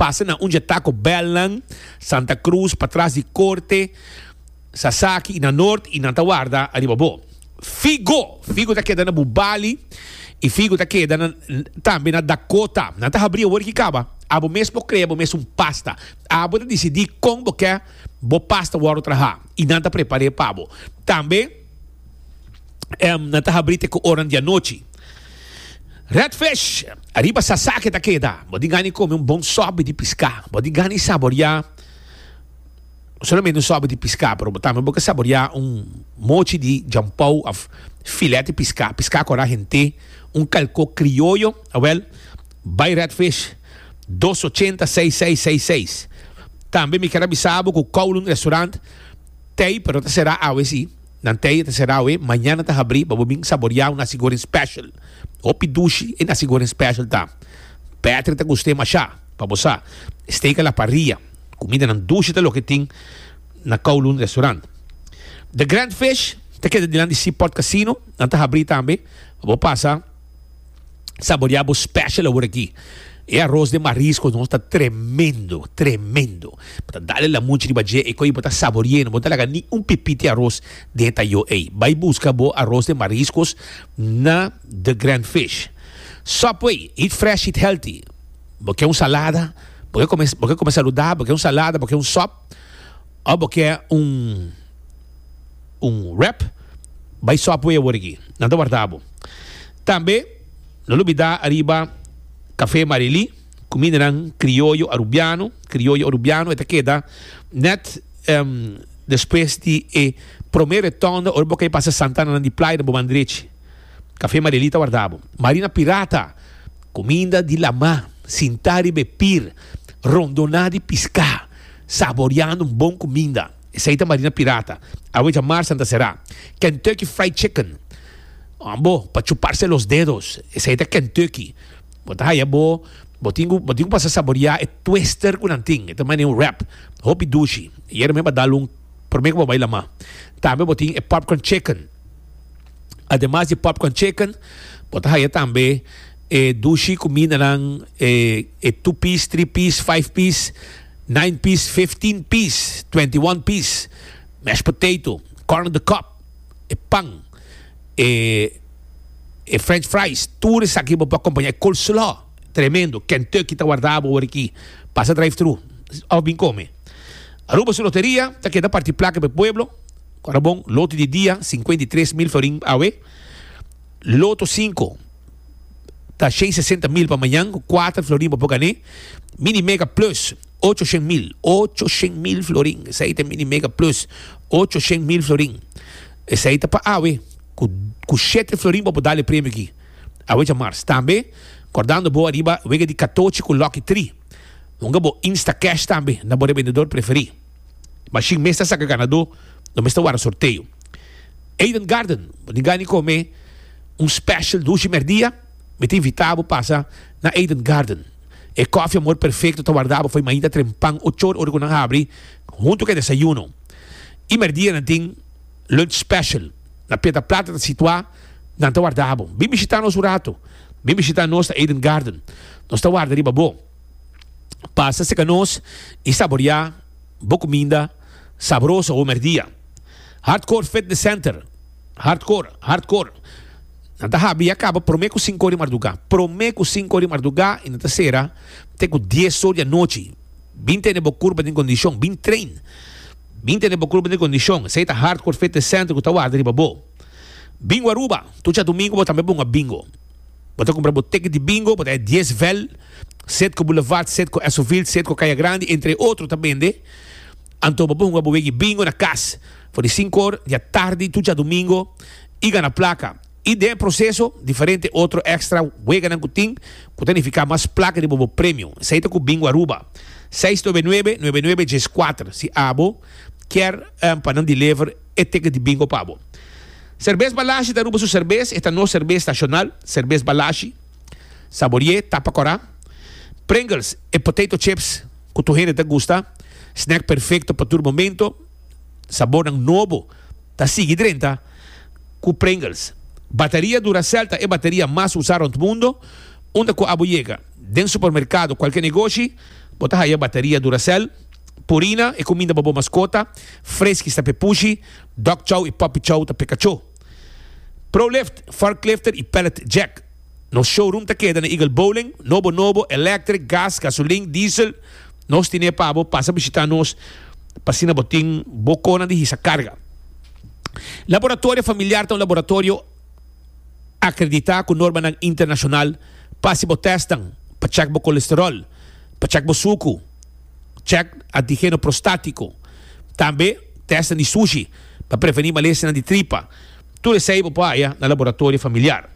Pasa na un dje Taco Bellnan, Santa Cruz, patras di Corte, Sasaki y na Noord y nan ta warda ariba bo. Figo! Figo ta keda na Bubali y Figo ta keda na tambe na Dakota. Nan ta habri awor ki kaba. Abo mes por crea bo mes un pasta. Abo ta dicidi con bo ke bo pasta wordo traha y nan ta prepare pa bo. Tambe nan ta habri te cu oran di anochi. Red Fish! Ariba Sasaki ta keda. Bo tin gana di come un bon sopi di pisca. Bo tin gana di saboria. No solamente un sopi di piská, pero bo tambe bo ke saboriá un mochi di djampou òf filet di piská, piská kòrá hent'é, un kalkó krioyo, awèl, bai Red Fish, dos ochenta seis seis seis seis. Tambe mi ker a bisa bo ku Kowloon Restaurant tei, pero ta será awe sí, nan tei ta será awe, mañana ta habrí pa bo bin saboriá un nasi goreng special. Hopi dushi e nasi goreng special ta. Patrick ta gust'é mashá, pa bo sa. Steak a la parrilla. Kumindanan dushi ta loke tin na Kowloon Restaurant. The Grand Fish ta keda dilanti Seaport Casino. Nan ta habrí tambe pa bo pasa saboreá bo special awor aki. E aros den marisco nos ta tremendo, tremendo. Bo ta dale lamunchi riba dje e koe bo ta sabore'é. No bo ta laga ni un pipiti aros den e tayo ei. Bai buska bo aros den mariscos na The Grand Fish. Subway, eat fresh, eat healthy. Bo ke un salada, bo ke kome, bo ke kome saludabel, bo ke un salada, bo ke un sòp, òf bo ke un un wrap, bai Subway awor aki. Nan ta warda bo. Tambe, no lubidá ariba Café Marilí, kumindanan krioyo arubiano, krioyo arubiano, e ta keda nèt despues di e promé retònda ora bo kai pasa Santana nan di playa na bo man drechi. Café Marilí ta warda bo. Marina Pirata. Kuminda di lamá, sintá riba e pir, rondoná di piská, saboriando un bon kuminda. Esei ta Marina Pirata. Awe djamar Santa Será. Kentucky Fried Chicken. Ambo, pa chuparse los dedos. Esei ta Kentucky. Bo ta haya bo, bo tin ku, bo tin ku pasa saboriá e twister ku nan tin. E ta manera un wrap. Hopi dushi. Yera mi a dal un promé ku bo bai lamá. Tambe bo tin e popcorn chicken. Ademas di popcorn chicken, bo ta haya tambe e dushi kumindanan, e e two piece, three piece, five piece, nine piece, 15 piece, 21 piece, mashed potato, corn on the cob, e pan, e e french fries, tur esaki bo por akompañá e coleslaw, tremendo, Kentucky ta warda bo awor aki, pasa drive thru òf bin kome. Aruba su loteria ta keda parti plaka pa e pueblo. Ora bon, loto di dia, 53 mil florin awe. Loto 5 ta 160 mil pa mañan, ku 4 florin bo por gané. Mini Mega Plus, 800 mil, 800 mil florin. Esei ta Mini Mega Plus, 800 mil florin. Esei ta pa awe, ku ku 7 florin bo por dal e premio aki. Awe djamars. Tambe, kordando bo ariba wega di katochi ku Lucky 3. Hunga bo Instacash tambe na bo rebendedor preferí. Mashin mes ta saka ganadó, no mes ta warda sorteo. Eden Garden, bo tin gana di kome un special dushi merdia? Mi ta invitá bo pasa na Eden Garden. E kòfi Amor Perfecto ta warda bo fo'i mainta trempan ochor ora ku nan habri huntu ku e desayuno. I merdia nan tin lunch special. Na Piedra Plata ta situá, nan ta warda bo. Bin bishitá nos un rato. Bin bishitá nos na Eden Garden. Nos ta warda riba bo. Pasa serka nos i saboriá bo kuminda sabroso awe merdia. Hardcore Fitness Center, Hardcore, Hardcore. Nan ta habri ya kaba promé ku sinku or di mardugá. Promé ku sinku or di mardugá i nan ta sera te ku dies or di anochi. Bin tene bo kurpa den kondishon, bin train. Bin tene bo kurpa den kondishon. Esei ta Hardcore Fitness Center ku ta warda riba bo. Bingo Aruba, tur djadumingu bo tambe bunga bingo. Bo ta kumpra bo ticket di bingo, bo ta haya dies vel. Setco Boulevard, Setco Esoville, Setco Kaya Grandi, entre otro ta bende. Anto bo por hunga bo wegi bingo na kas for di sinku or di atardi tur djadumingo i gana plaka. I den e proseso diferente otro extra weganan ku tin ku ta nifiká mas plaka riba bo premio. Esei ta ku Bingo Aruba. Seis nuebe nuebe, nuebe nuebe djes kuater si abo kier pa nan deliver e ticket di bingo pa bo. Serbes Balashi ta Aruba su serbes, e ta nos serbes nashonal, Serbes Balashi. Saborié tapa kòrá. Pringles, e potato chips ku tur hende ta gusta. Snack perfekto pa tur momento. Sabornan nobo ta sigui drenta ku Pringles. Bateria Duracell ta e bateria mas usá rònt mundo. Unda ku abo yega, den supermerkado, kualke negoshi, Bo ta haya bateria Duracell, Purina, e kuminda pa bo maskota, Friskies ta p'e pushi, Dog Chow i Puppy Chow ta p'e kachó. Prolift, Forklifter i Pallet Jack. Nos showroom ta keda na Eagle Bowling, nobo nobo, electric, gas, gasolin, diesel, nos tine pa bo, pasa bishita nos pa asina bo tin bo konan di hisa karga. Laboratorio Familiar ta un laboratorio akreditá ku normanan internashonal pa hasi bo tèstnan pa chèk bo kolesteròl, pa chèk bo suku, chèk antigeno prostátiko, tambe tèstnan di sushi pa prevení malesianan di tripa. Tur esei bo por haya na Laboratorio Familiar.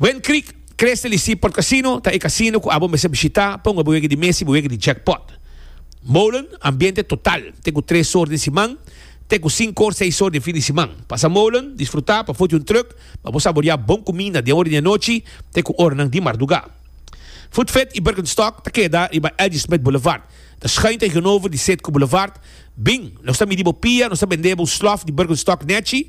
Wind Creek, Crystal y Seaport Casino ta e casino cu abo mester bishita pa hunga bo wega di mesa y bo wega di jackpot. Molen, ambiente total, te cu tres or den siman, te cu cinco or, seis or den fin di siman. Pasa Molen, disfruta pafo di un truck pa bo saboria bon cuminda den ora di anochi te cu oranan di marduga. Food Fit y Birkenstock ta keda riba LG. Smith Boulevard. Ta schuin tegenover di Citgo Boulevard. Bin, nos ta midi bo pia, nos ta bende bo un slof di Birkenstock nechi,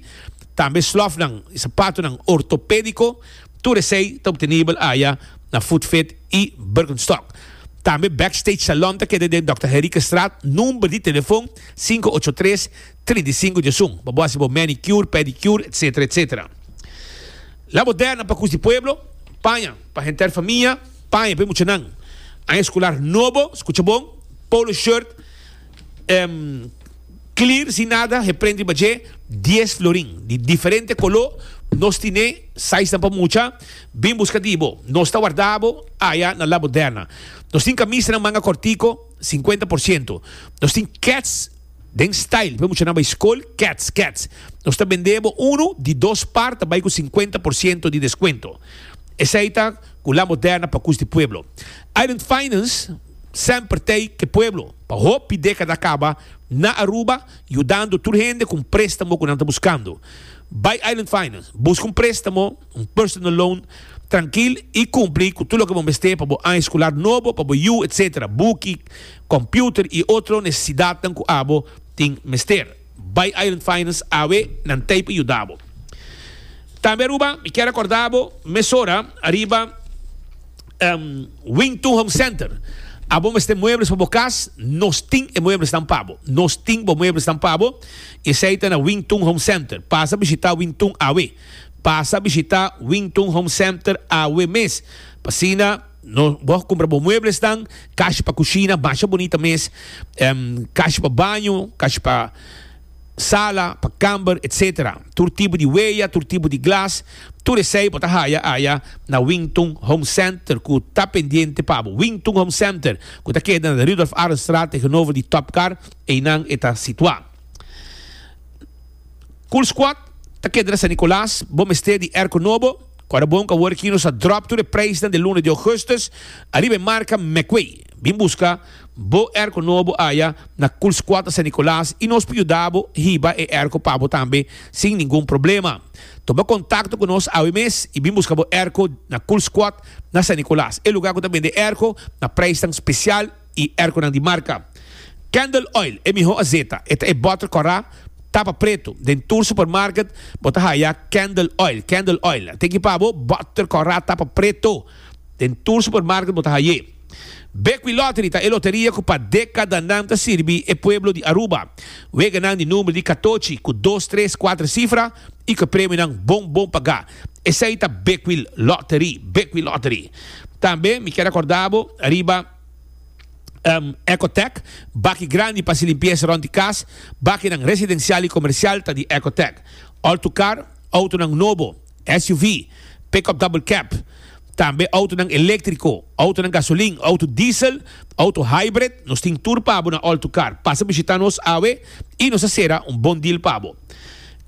tambe slofnan y sapatonan ortopedico. Tur esey ta obtenibel aya na Food Fit y Birkenstock. Tambe Backstage Salon ta keda den Dòkter Henriquezstraat, number di telefon sinku ocho tres, 35 diesun, pa bo hasi bo manicure, pedicure, etcetera, etcetera. La Moderna pa Cus di Pueblo, paña pa henter famia. Paña pa e muchanan. Aña escolar nobo, scucha bon, polo shirt clear sin nada geprint riba dje, dies florin di diferente colo, nos tine sizenan pa mucha, bin busca di bo, nos ta warda bo aya na La Moderna. Nos tin camisanan manga cortico, 50%. Nos tin kets. Den style pa e muchanan bai skol, kets, kets. Nos ta bende bo unu di dos par ta bai ku 50% di deskuento. Esei ta ku La Moderna pa kus di pueblo. Island Finance semper t'ei ke pueblo pa hopi dekada kaba na Aruba yudando tur hende ku un prestamo ku nan ta buskando. Bai Island Finance, buska un prestamo, un personal loan, trankil i kumpli ku tur loke bo mester pa bo aña eskolar nobo, pa bo yu, etc. Buki, computer y otro necesidadnan cu abo tin mester. Bay Island Finance awe, nan tey pa yuda bo. Tambe Aruba, mi kier acorda bo mesora ariba Wing Tun Home Center. Abo mester muebles pa bo cas, nos tin e mueblesnan pa bo. Nos tin bo mueblesnan pa bo y esey ta na Wing Tun Home Center. Pasa bishita Wing Tun awe. Pasa bishita Wing Tun Home Center awe mes. Pa asina. No, bo a kumpra bo mueblesnan, kashi pa kushina, masha bunita mes, kashi pa baño, kashi pa sala, pa kamber, etcetera. Tur tipo di weya, tur tipo di glas, tur esei bo ta haya aya na Wington Home Center ku ta pendiente pa bo. Wington Home Center ku ta keda na Rudolf Arendstraat tegenover di Top Car, einan e ta situá. Cool Squad ta keda na San Nicolas, bo mester di airco nobo? Ku ora bon ku awor aki nos a drop tur e prijsnan di luna di augustus ariba e marka Mecway. Bin buska bo airco nobo aya na Cool Squad na San Nicolas y nos por yuda bo hiba e airco pa bo tambe sin ningun problema. Tuma contacto ku nos awe mes y bin buska bo airco na Cool Squad na San Nicolas, e lugar ku ta bende airco na prijsnan special. i erkonan di marka. Candle Oil, e mihó azeta. E ta e bòter kòrá, tapa pretu. Den tur supermarket bo ta haya Candle Oil. Candle Oil. Teki pa bo, bòter kòrá, tapa pretu. Den tur supermarket bo ta hay'é. Bequi Lottery ta e loteria ku pa dekadanan ta sirbi e pueblo di Aruba. Weganan di number di katochi ku dos, tres, kuater sifra i ku e premionan bon bon pagá. Esei ta Bequi Lottery. Bequi Lottery. Tambe mi kier akorda bo riba Ecotec, baki grandi pa hasi limpiesa rond di kas, bakinan residensial i komersial ta di Ecotec. All to car, outonan nobo, SUV, pick-up double cab, tambe outonan eléktriko, outonan gasolin, outo diesel, outo hybrid, nos tin tur pa bo na All to Car. Pasa bishita nos awe i nos a sera un bon deal pa bo.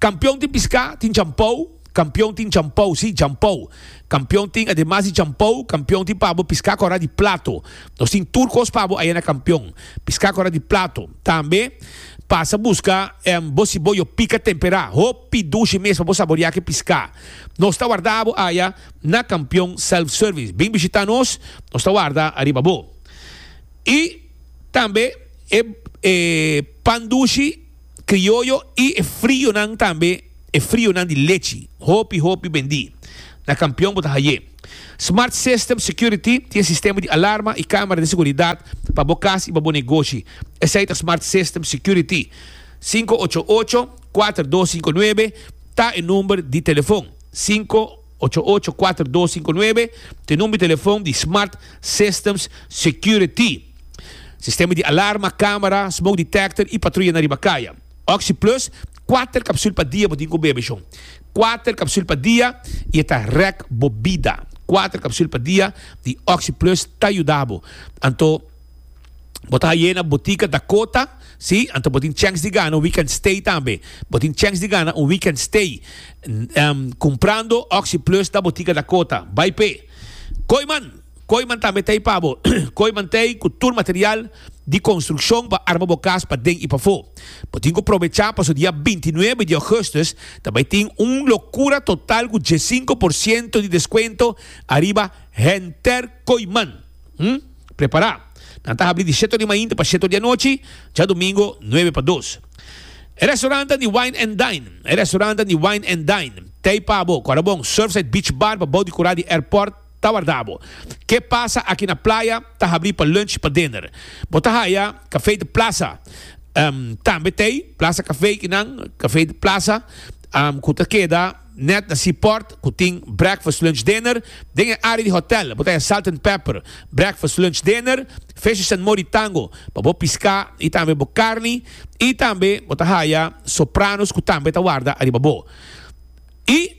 Kampion tin piská, tin champou. Kampion tin champou, sí, champou. Kampion tin, ademas di champou, kampion tin pa bo piská kòrá di plato. Nos tin tur kos pa bo aya na kampion. Piská kòrá di plato. Tambe, pasa buska bo siboyo pika temperá. Hopi dushi mes pa bo saboriá ku e piská. Nos ta warda bo aya na Kampion Self Service. Bin bishitá nos, nos ta warda ariba bo. I tambe e e pan dushi krioyo i e frionan tambe. E frionan di lechi hopi hopi bendí. Na Kampion bo ta haye. Smart System Security tin e sistema di alarma i kamera di seguridat. pa bo kas i pa bo negoshi. Esei ta Smart System Security. 588 4259 ta e number di telefon. 588 4259 ta e number di telefon di Smart Systems Security. Sistema di alarma, camera, smoke detector y patruya na riba caya. Oxi Plus, kuater capsul pa dia bo tin cu bebe shon. Kuater capsul pa dia y e ta rek bo bida. Kuater capsul pa dia di Oxi Plus ta yuda bo. Anto bo ta haye na botica Dakota, si, anto bo tin chance di gana un weekend stay tambe. Bo tin chance di gana un weekend stay cumprando Oxi Plus na botica Dakota. Bai p'e. Kooiman! Kooiman tambe ta ei pa bo. Kooiman ta ei ku tur material di konstrukshon pa arma bo kas paden i pafó. Bo tin ku probechá pasobra dia 29 di ougùstùs ta bai tin un lokura total ku diesinko por siento di deskuento ariba henter Kooiman. Hm? Prepará! Nan ta habri di shete di mainta pa shete di anochi, djadumingo nuebe pa dos. E restaurantnan di Wine and Dine E restaurantnan di Wine and Dine ta ei pa bo. Kòrda bon, Surfside Beach Bar pa bou di kurá di airport. Ta warda bo. Ke pasa aki na playa ta habri pa lunch pa dinner. Bo ta haya Café de Plaza tambe t'ey, Plaza Café kinan, Café de Plaza, ku ta keda net na Seaport ku tin breakfast, lunch, dinner. Den e area di hotel bo ta haya Salt and Pepper, breakfast, lunch, dinner, Fishes and Mori Tango pa bo piská i tambe bo karni i tambe bo ta haya Sopranos ku tambe ta warda ariba bo. I.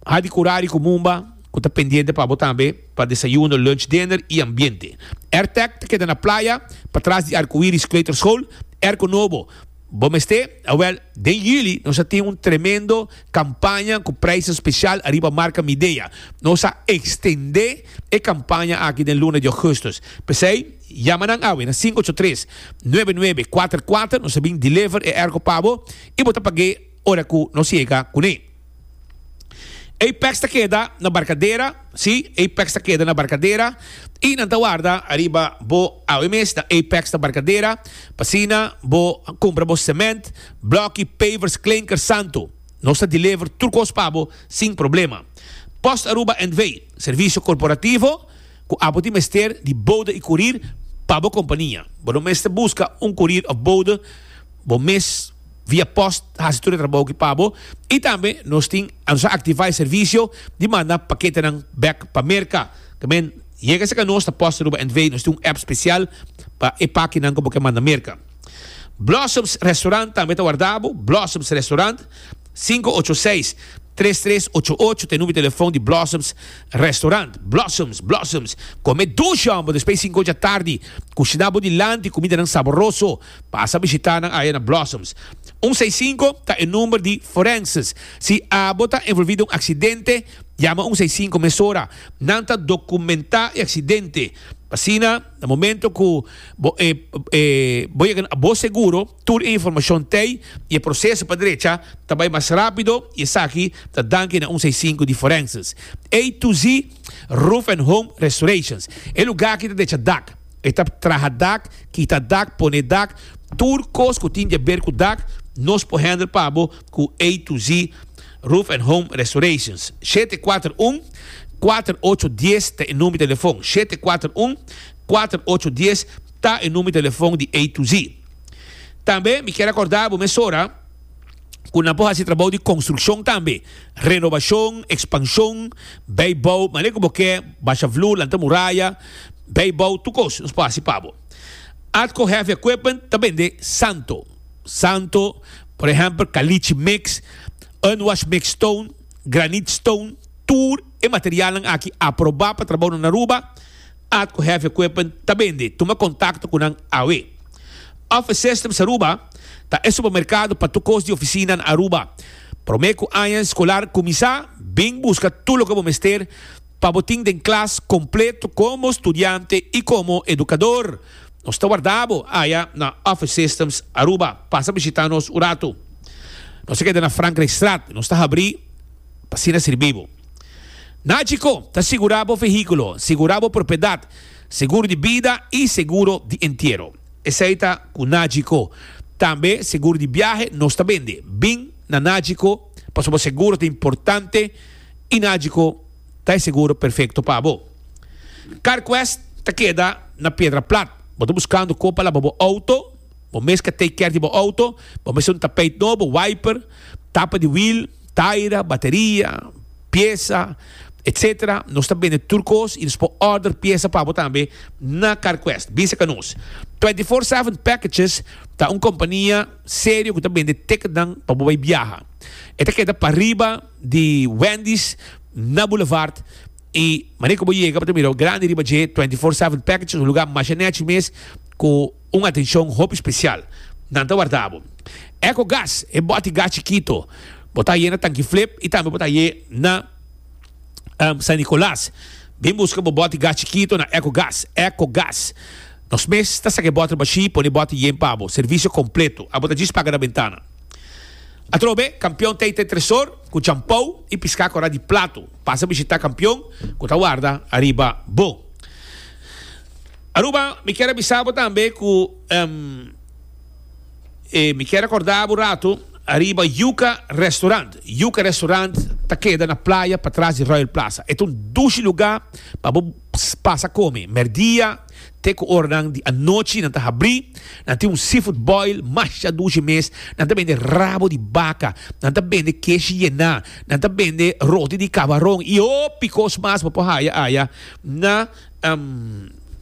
Hadi Curari cu Mumba cu ta pendiente pa bo tambe pa desayuno, lunch, dinner y ambiente. Airtec ta keda na playa patras di Arcoiris Kleuterschool. Airco nobo bo mester? Awel, den juli nos a tin un tremendo campaña cu prijsnan special ariba marca Midea. Nos a extende e campaña aki den luna di augustus. P'esey, yama nan awe na 583 9944 nos a bin deliver e airco pa bo y bo ta pag'e ora cu nos yega cune. Apex ta keda na Barcadera, sí, Apex ta keda na Barcadera y nan ta warda ariba bo awe mes na Apex na Barcadera pa asina bo cumpra bo cement, bloki, pavers, klinker, santo. Nos ta deliver tur cos pa bo sin problema. Post Aruba NV, servicio corporativo cu abo tin mester di bode y curir pa bo compania. Bo no mester busca un curir of bode, bo mes. Via post hasi tur e trabou aki pa bo y tambe nos tin nos a activa e servicio di manda paketenan bek pa Merca. Tamen yega cerca nos ta Post Aruba NV nos tin un app special pa e pakinan cu bo ke manda Merca. Blossoms Restaurant tambe ta warda bo, Blossoms Restaurant 586 3388 ta e numero di telefon di Blossoms Restaurant. Blossoms, Blossoms, come dushi homber despues di cinco ocho atardi, cushina bo dilanti cumidanan saboroso. Pasa bishita nan aya na Blossoms. Un seis sinku ta e number di forenses. Si abo ta envolvi den un aksidente, yama un seis sinku mesora. Nan ta dokumentá e aksidente. Asina, na momento ku bo e e bo yega na bo seguro, tur e informashon t'ei i e proseso pa drecha ta bai mas rápido i esaki ta danki na un seis sinku di forenses. A to Z Roof and Home Restorations. E lugá aki ta drecha dak. E ta traha dak, kita dak, pone dak, tur kos ku tin di aber ku dak, nos por handle pa bo ku A to Z Roof and Home Restorations. 741 4810 ta e number di telefon. 741 4810 ta e number di telefon di A to Z. Tambe mi kier akorda bo mesora ku nan por hasi trabou di konstrukshon tambe, renobashon, ekspanshon, bijbou, manera ku bo ke, basha vloer, lanta muraya, Bijbouw tur kos nos por hasi pa bo. Atco Heavy Equipment ta bende santo. Santo, por ehempel, caliche mix, unwash mix stone, granite stone, tur e materialnan aki aproba pa trabou na Aruba, Atco Heavy Equipment ta bende. Tuma contacto cu nan awe. Office Systems Aruba ta e supermercado pa tur kos di oficina na Aruba. Prome cu aña escolar cuminsa, bin busca tur loke bo mester Pa bo tin den klas kompleto komo studiante i komo edukador. Nos ta warda bo aya na Office Systems Aruba. Pasa bishita nos un ratu. Nos ta keda na Frankrijkstraat. Nos ta habrí pa asina sirbi bo. Nagico ta sigurá bo vehíkulo, sigurá bo propiedat, seguro di bida i seguro di entiero. Esei ta ku Nagico. Tambe seguro di biahe nos ta bende. Bin na Nagico pasobra bo seguro ta importante. I Nagico ta e seguro perfecto pa bo. CarQuest. ta keda na Piedra Plat. Bo ta buskando kon pa laba bo outo? Bo mes ka take care di bo outo? Bo mester un tapijt nobo, wiper, tapa di wiel, taira, bateria, piesa, etc. Nos ta bende tur kos i nos por order piesa pa bo tambe na Carquest. Bisa ka nos. 24/7 Packages ta un kompania serio ku ta bende ticketnan pa bo bai biaha. E ta keda pariba di Wendy's na Boulevard i manera ku bo yega bo ta mira grandi riba dje 24/7 Packages, un lugar masha nechi mes ku un atencion hopi special. Nan ta warda bo. Eco Gas, e boti gas chikito, bo ta haye na Tanki Flip y tambe bo ta haye na San Nicolas. Bin busca bo boti gas chikito na Eco Gas. Eco Gas. Nos mes ta saca e bottle bashi, pone e boti yen pa bo. Servicio completo. Abo ta djis paga na bentana. Atrobe, Campeon Teite Tresor cu champou y pisca cora di plato. Pasa bishita Campeon cu ta warda ariba bo. Aruba, mi kier a bisa bo tambe ku e mi kier a korda bo rato ariba Yuca Restaurant. Yuca Restaurant ta keda na playa patras di Royal Plaza. E ta un dushi luga pa bo pasa kome. Merdia te ku oranan di anochi nan ta habri. Nan tin un seafood boil masha dushi mes. Nan ta bende rabo di baka, nan ta bende keshi yená, nan ta bende roti di kabaron i hopi kos mas bo por haya aya na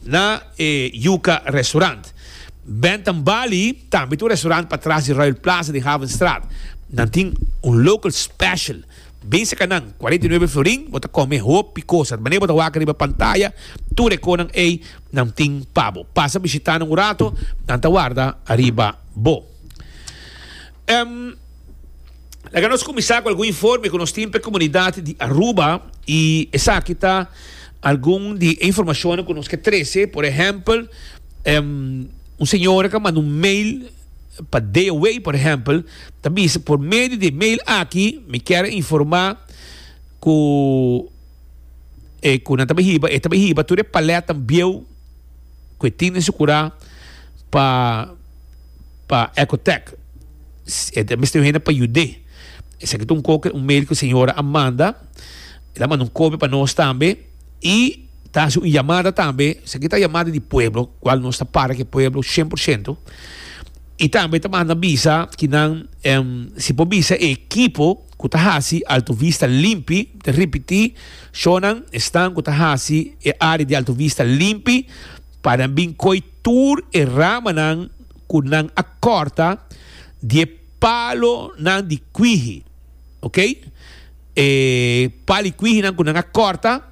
Na e Yuca Restaurant. Bentham Bali tambe ta un restaurant patras di Royal Plaza den Havenstraat. Nan tin un local special. Bin saka nan, 49 florin, bo ta come hopi cosa. Manera bo ta wak riba pantaya, tur e konan ey nan tin pa bo. Pasa bishita nan un rato, nan ta warda ariba bo. Laga nos kuminsá ku algun informe ku nos tin pa e komunidat di Aruba i esaki ta algun di e informashonnan ku nos ke trese. Por ehèmpel, un señora ku a manda un mail pa DOW, por ehèmpel, ta bisa por medio di e mail aki mi kier a informá ku e ku nan ta bai hiba, e ta bai hiba tur e palètnan bieu ku e tin den su kurá pa pa Ecotech. E ta mester un hende pa yud'é. Esaki ta un koke, un mail ku e señora a manda. El a manda un kopia pa nos tambe i ta hasi un yamada tambe. Esaki ta yamada di pueblo, kual nos ta para ku e pueblo shen por shento. I tambe ta manda bisa ki nan si por bisa e ekipo ku ta hasi Alto Vista limpi, mi ta ripití, shownan esnan ku ta hasi e área di Alto Vista limpi pa nan bin koi tur e ramanan ku nan a kòrta di e palonan di kwihi, ok, e palo di kwihinan ku nan a kòrta,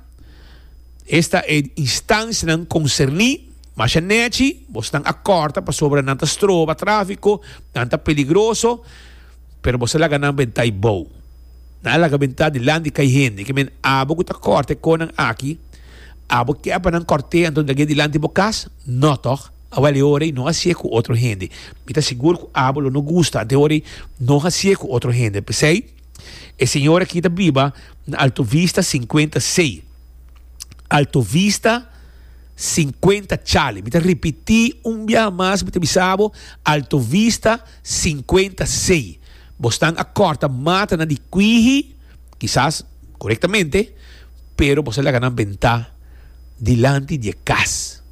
esta e instansianan konserní, masha nèchi, bosnan a kòrta pasobra nan ta stroba tráfiko, nan ta peligroso, pero boso a laga nan bentá i bou. Nan a laga bentá dilanti kai hende. Ke men abo ku ta kòrta e konan aki, abo ke pa nan kòrt'é anto lag'é dilanti bo kas? No tòg? Awel e ora ei no hasié ku otro hende. Mi ta sigur ku abo lo no gusta anto e ora ei no hasié ku otro hende. P'esei, e señor aki ta biba na Alto Vista sinkuenta sei. Alto Vista sinkuenta Charlie. Mi ta ripití un biaha mas, mi ta bisa bo, Alto Vista sinkuenta sei. Bosnan a kòrta matanan di kwihi, kisas korektamente, pero bos a laga nan bentá dilanti di e kas.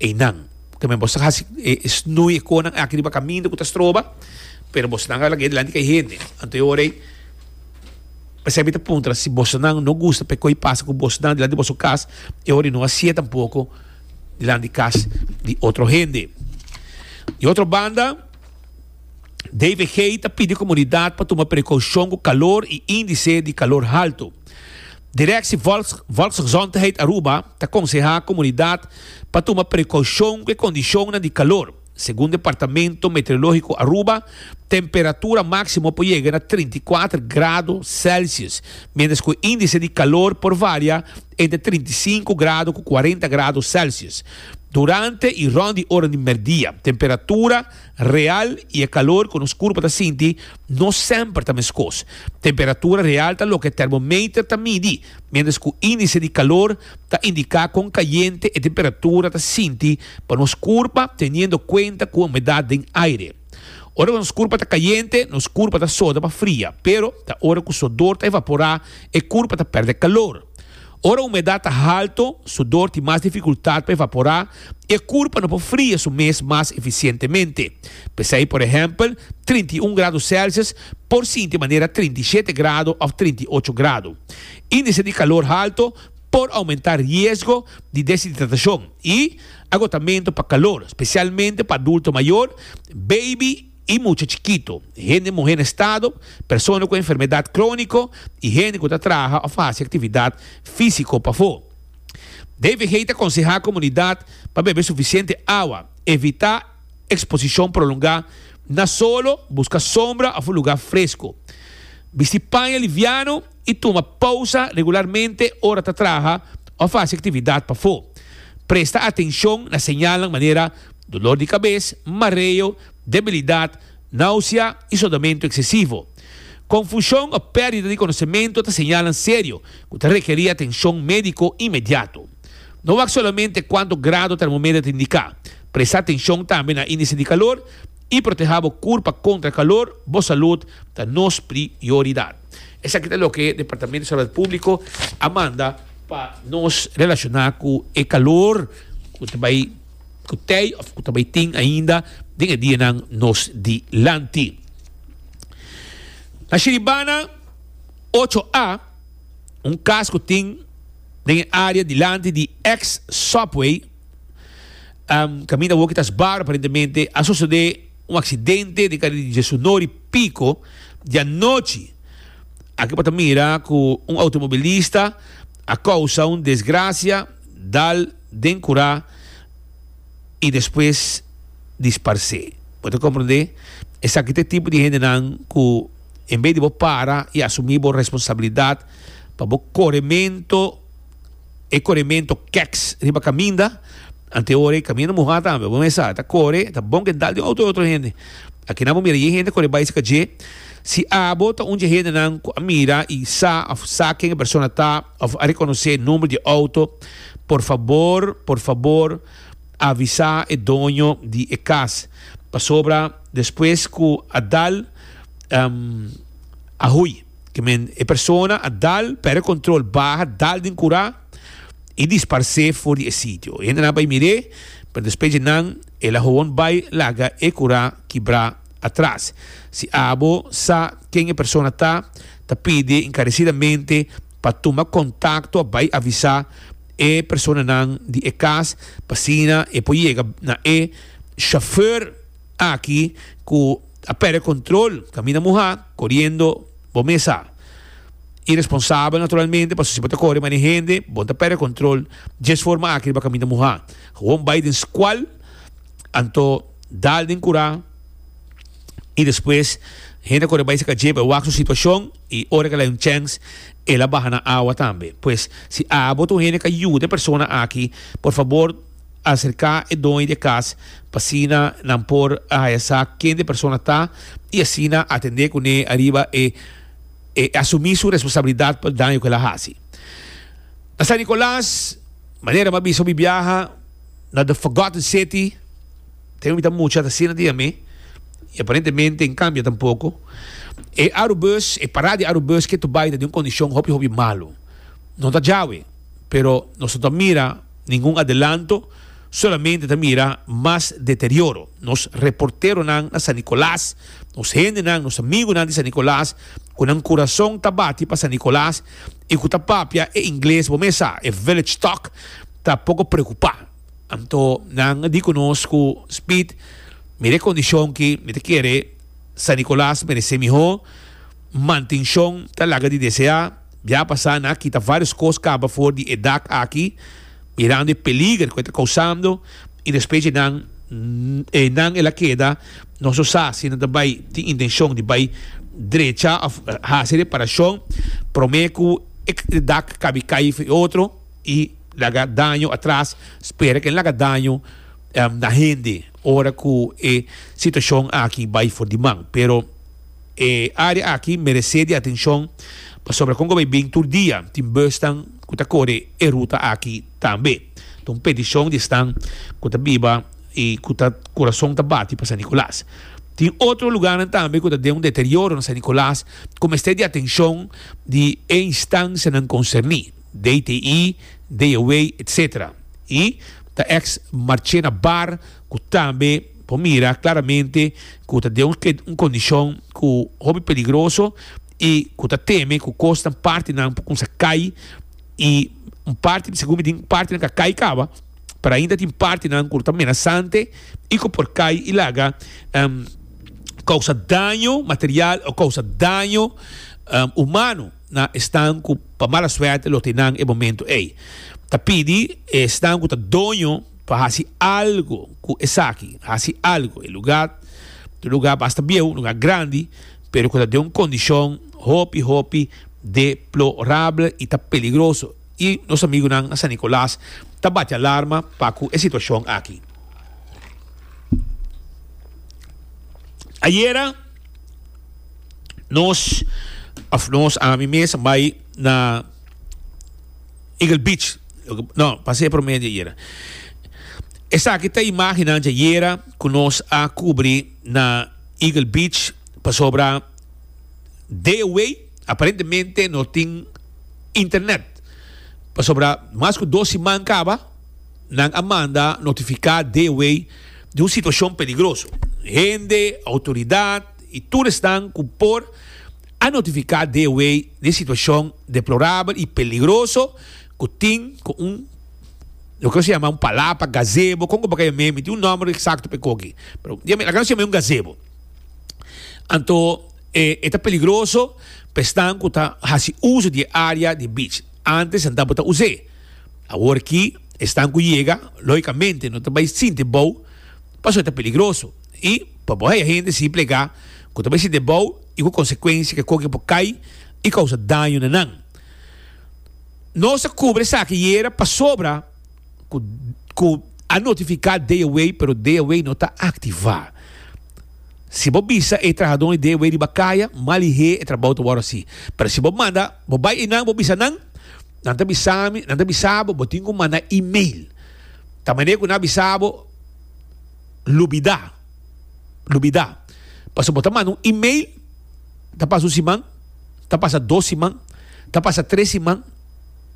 Einan. Tambe bos ta hasi e snui e konan aki riba kaminda ku ta stroba, pero bosnan a lag'é dilanti ku e hende. Anto e ora ei, p'esei mi ta puntra si bosonan no gusta pa e koi pasa ku bosnan dilanti di boso kas, e ora ei no hasié tampoko dilanti di kas di otro hende. Di otro banda, DVG ta pidi komunidat pa tuma prekoushon ku kalor i índise di kalor haltu. Directie Volksgezondheid Aruba ta konsehá komunidat pa tuma prekoushon ku e kondishonnan di kalor. Segun Departamento Meteorológiko Aruba, temperatura máksimo por yega na 34 grado Celsius, miéntras ku e índise di kalor por varia entre 35 grado ku 40 grado Celsius. Durante i rònt di ora di mèrdia, temperatura real i e kalor ku nos kurpa ta sinti no semper ta meskos. Temperatura real ta loke termometer ta midi, miéntras ku índise di kalor ta indiká kon kayente e temperatura ta sinti pa nos kurpa teniendo kuenta ku humedat den aire. Ora ku nos kurpa ta kayente, nos kurpa ta soda pa fria, pero ta ora ku sodor ta evaporá e kurpa ta pèrdè kalor. Ora humedat ta halto, sudor tin mas difikultat pa evaporá i e kurpa no por fria su mes mas efisientemente. P'esei, por ehèmpel, 31 grado Celsius por sinti manera 37 grado òf 38 grado. Índise di kalor halto por oumentá riesgo di deshidratashon i agotamentu pa kalor, spesialmente pa adulto mayor, baby i mucha chikito, hende muhé na estado, persona ku enfermedat króniko i hende ku ta traha òf hasi aktividat físiko pafó. DVG ta konsehá komunidat pa bebe sufisiente awa, evitá eksposishon prolongá na solo, buska sombra òf un lugá fresku, bisti paña liviano i tuma pousa regularmente ora ta traha òf hasi aktividat pafó. Presta atenshon na señalnan manera dolor di kabes, mareo, debilidat, náusea i sodamentu eksesivo. Konfushon òf pèrdida di konosementu ta señalnan serio ku ta rekerí atenshon médiko inmediato. No wak solamente kuantu grado termometer ta indiká. Presta atenshon tambe na índise di kalor i protehá bo kurpa kontra kalor. Bo salud ta nos prioridat. Esaki ta loke Departamento di Salud Públiko a manda pa nos relashoná ku e kalor ku ta bai ku tei of ku ta bai tin ainda den e dianan nos dilanti. Na Shiribana ocho A, un kas ku tin den e área dilanti di ex Subway, kaminda awor ki ta sbar aparentemente, a sosodé un aksidente den kare di Djesunori Pico di anochi. Aki bo ta mira ku un outomobilista a kousa un desgrasia dal den kurá i despues disparsé. Bo ta komprendé? Esaki ta e tipo di hendenan ku en bes di bo para i asumí bo responsabilidat pa bo koremento, e koremento kèks riba kaminda, ante ora e kaminda muhá tambe, bo mes sa, ta kore, ta bon ke dal di un outo di otro hende. Akinan bo mira yen hende kore bai seka dje. Si abo ta un dje hendenan ku a mira i sa òf sa ken e persona ta òf a rekonosé number di e outo, por fabor, por fabor avisá e doño di e kas. Pasobra despues ku a dal a hui. Ke men e persona a dal, pèrdè kontrol, baha, dal den kurá i disparsé for di e sitio. E hendenan a bai mir'é, pero despues dje nan el a howon bai laga e kurá kibrá atras. Si abo sa ken e persona ta, ta pidi enkaresidamente pa tuma kontakto a bai avisá e personanan di e kas pa asina e por yega na e shofùr aki ku a pèrdè kontrol kaminda muhá koriendo bo mes sa. Iresponsabel naturalmente pasobra si bo ta kore mane hende bo no ta pèrdè kontrol djes forma aki riba kaminda muhá. Gewoon bai den skual anto dal den kurá i despues hende a kore bai saka dje pa wak su situashon i ora ke el a un chèns el a baha na awa tambe. Pues si abo ta un hende ku a yuda e persona aki por fabor aserká e doño di e kas pa asina nan por a haya sa ken di e persona ta i asina atendé kuné ariba e e asumí su responsabilidat pa e daño ku el a hasi. Na San Nicolas, manera mi a bisa mi biaha na The Forgotten City, ten mi ta mucha ta asina dia mi i aparentemente en kambia tampoko. E Arubus, e parada di Arubus ke tu bai ta den un kondishon hopi hopi malu. No ta djawe, pero nos no ta mira ningun adelanto, solamente ta mira mas deterioro. Nos reporteronan na San Nicolas, nos hendenan, nos amigunan di San Nicolas, ku nan kurason ta bati pa San Nicolas i ku ta papia e ingles, bo mes sa, e village talk, ta poko preokupá. Anto nan a di ku nos ku Speed, mira e kondishon ki mi ta kere San Nicolas meresé mihó, mantenshon ta laga di deseá. Bia pasá nan a kita vários kos kaba for di e dak aki, mirando e peliger ku e ta kousando, i despues dje nan e nan el a keda, nos no sa si nan ta bai tin intenshon di bai drecha òf hasi reparashon promé ku e dak kabi kai for e otro i laga daño atras, spera ku e laga daño na hende ora ku e situashon aki bai for di man. Pero. E área aki meresé di atenshon pasobra kon ku bai bin tur dia tin busnan ku ta kore e ruta aki tambe. Ta un petishon di esnan ku ta biba i ku ta kurason ta bati pa San Nicolas. Tin otro lugarnan tambe ku ta den un deterioro na San Nicolas ku mester di atenshon di e instansianan konserní. DTI, DOW, etc. I ta ex Marchena Bar ku tambe por mira klaramente ku ta den un kondishon ku hopi peligroso i ku ta teme ku kosnan partinan por kumsa kai i un parti segun mi tin partinan ka kai kaba pero ainda tin partinan ku ta menasante i ku por kai i laga kousa daño material o kousa daño humano na esnan ku pa mala suerte lo tin nan e momento ei. Ta pidi esnan ku ta doño pa hasi algo ku esaki, hasi algo. E lugar ta un lugar basta bieu, un lugar grandi, pero ku ta den un kondishon hopi hopi deplorable i ta peligroso. I nos amigunan na San Nicolas ta bati alarma pa ku e situashon aki. Ayera nos of nos ami mes a bai na Eagle Beach. No, pasé e promé di ayera. Esaki ta imagennan di ayera ku nos a kubri na Eagle Beach pasobra DOW aparentemente no tin internet. Pasobra mas ku dos siman kaba nan a manda notifiká DOW di un situashon peligroso. Hende, outoridat i tur esnan ku por a notifiká DOW di e situashon deplorabel i peligroso ku tin ku un loke nos ta yama un palapa, gazebo, kon ku bo ka yam'é, mi tin un nòmber eksakto pa e koki, pero laga nos yam'é un gazebo. Anto e ta peligroso pa esnan ku ta hasi uso di e área di beach. Ántes nan tabata us'é. Awor ki esnan ku yega, lógikamente no ta bai sinti bou pasobra e ta peligroso. I pa bo haya hende sin plegá ku ta bai sinti bou i ku konsekuensia ku e koki por kai i kousa daño na nan. Nos a kubra esaki yera pasobra ku ku a notifiká DOW pero DOW no ta aktivá. Si bo bisa e trahadónan di DOW riba kaya, mal lihé e trabou ta wòrdu hasi. Pero si bo manda, bo bai einan bo bisa nan, nan ta bisa mi, nan ta bisa bo, bo tin ku manda email. Ta manera ku nan a bisa bo, lubidá, lubidá. Pasobra bo ta manda un email, ta pasa un siman, ta pasa dos siman, ta pasa tres siman,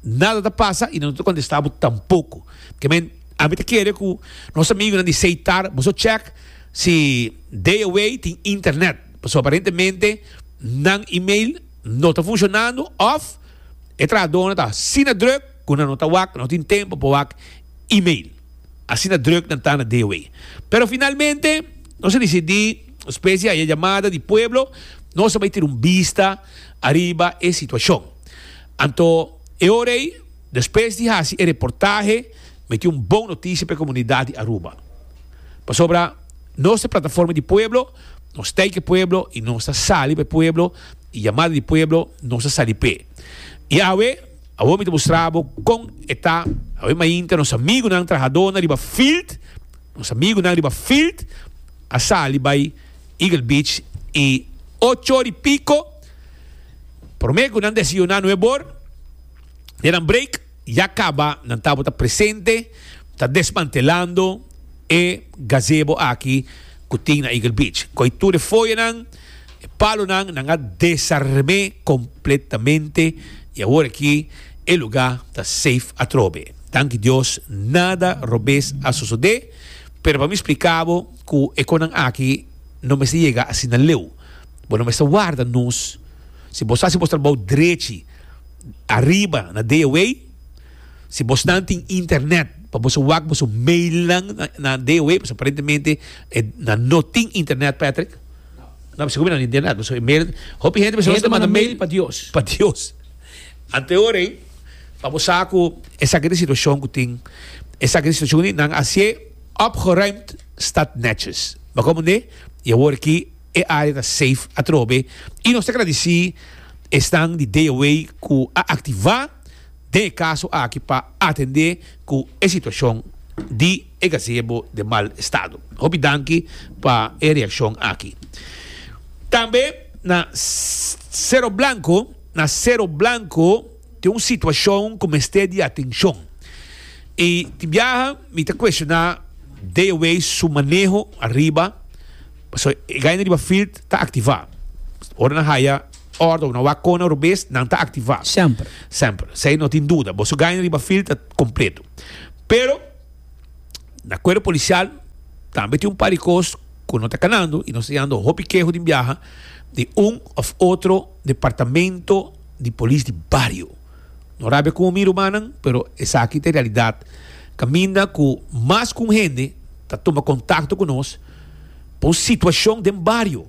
nada ta pasa i nan no ta kontestá bo tampoko. Ke men, ami ta kere ku nos amigunan di Seitar, boso chèk si DOW tin internet, pasobra aparentemente nan email no ta funshonando òf e trahadónan ta asina drùk ku nan no ta wak, no tin tempu pa wak email. Asina drùk nan ta na DOW. Pero finalmente nos a disidí, despues di haya yamada di pueblo, nos a bai tira un bista ariba e situashon. Anto e ora ei, despues di hasi e reportahe, mi tin un bon notisia pa e komunidat di Aruba. Pasobra nos ta e plataforma di pueblo, nos ta ku e pueblo i nos ta sali pa e pueblo i yamada di pueblo nos ta sali p'e. I awe, awor mi ta mustra bo kon e ta, awe mainta nos amigunan trahadónan riba field, nos amigunan riba field a sali bai Eagle Beach i ocho ora i piko, promé ku nan desayuná nuebor, den nan break, Ya caba nan tabata presente ta desmantelando e gazebo aki cu tin na Eagle Beach. Coy tur e foyanan, e palonan, nan a desarme completamente y awor aki e lugar ta safe atrobe. Danki Dios nada robes a sosode, pero pa mi splica bo cu e conan aki no mester yega asina leu. Bo no mester warda nos, si bo sa haci bo trabou drechi, ariba na DOW, si bosnan tin internet pa boso wak boso mailnan na DOW, pasobra aparentemente nan no tin internet, Patrick. No, sigur mi no tin internet, pasobra e mail, hopi hende pasobra ta manda mail pa Dios. Pa Dios. Ante ora ei, pa bo sa ku esaki ta e situashon ku tin, esaki ta e situashon ku tin, nan a hasié opgeruimd staat netjes. Bo komprendé? I awor aki E área ta safe atrobe i nos ta gradisí esnan di DOW ku a aktivá den e kaso aki pa atendé ku e situashon di e gazebo den mal estado. Hopi danki pa e reakshon aki. Tambe na Cerro Blanco, na Cerro Blanco tin un situashon ku mester di atenshon i tin biaha mi ta kuestioná DOW su maneho ariba. Pasobra e gaina riba field ta activa. Ora nan haya òrdu òf nan wak kona robes, nan ta aktivá. Semper. Semper. Esei no tin duda. Boso gaña riba fil ta kompleto. Pero, na kuerpo polisial tambe tin un par di kos ku no ta kanando i nos ta yando hopi keho di biaha di un òf otro departamento di polis di bario. No rabia ku mi rumannan, pero esaki ta e realidat. Kaminda ku mas ku un hende ta tuma kontakto ku nos pa un situashon den bario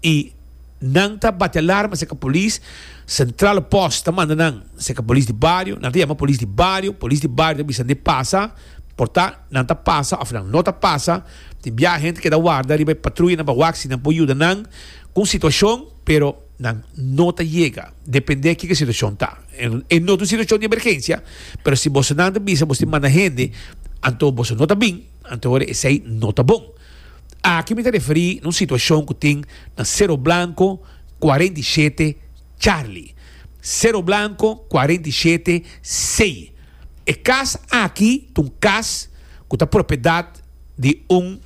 i nan ta bati alarma serka polis, sentrale post ta manda nan serka polis di bario, nan ta yama polis di bario, polis di bario ta bisa nan pasa, por ta nan ta pasa òf nan no ta pasa, tin biaha hende keda warda riba e patruyanan pa wak si nan por yuda nan ku un situashon, pero. Nan no ta yega, depende kiko e situacion ta. E no ta un situacion di emergencia, pero si bosonan ta bisa boso tin manda hende, anto boso no ta bin, anto ora esey no ta bon. Aki mi ta referi na un situacion cu tin na Cerro Blanco 47 Charlie. Cerro Blanco 47 C. E cas aki ta un cas cu ta propiedad di un.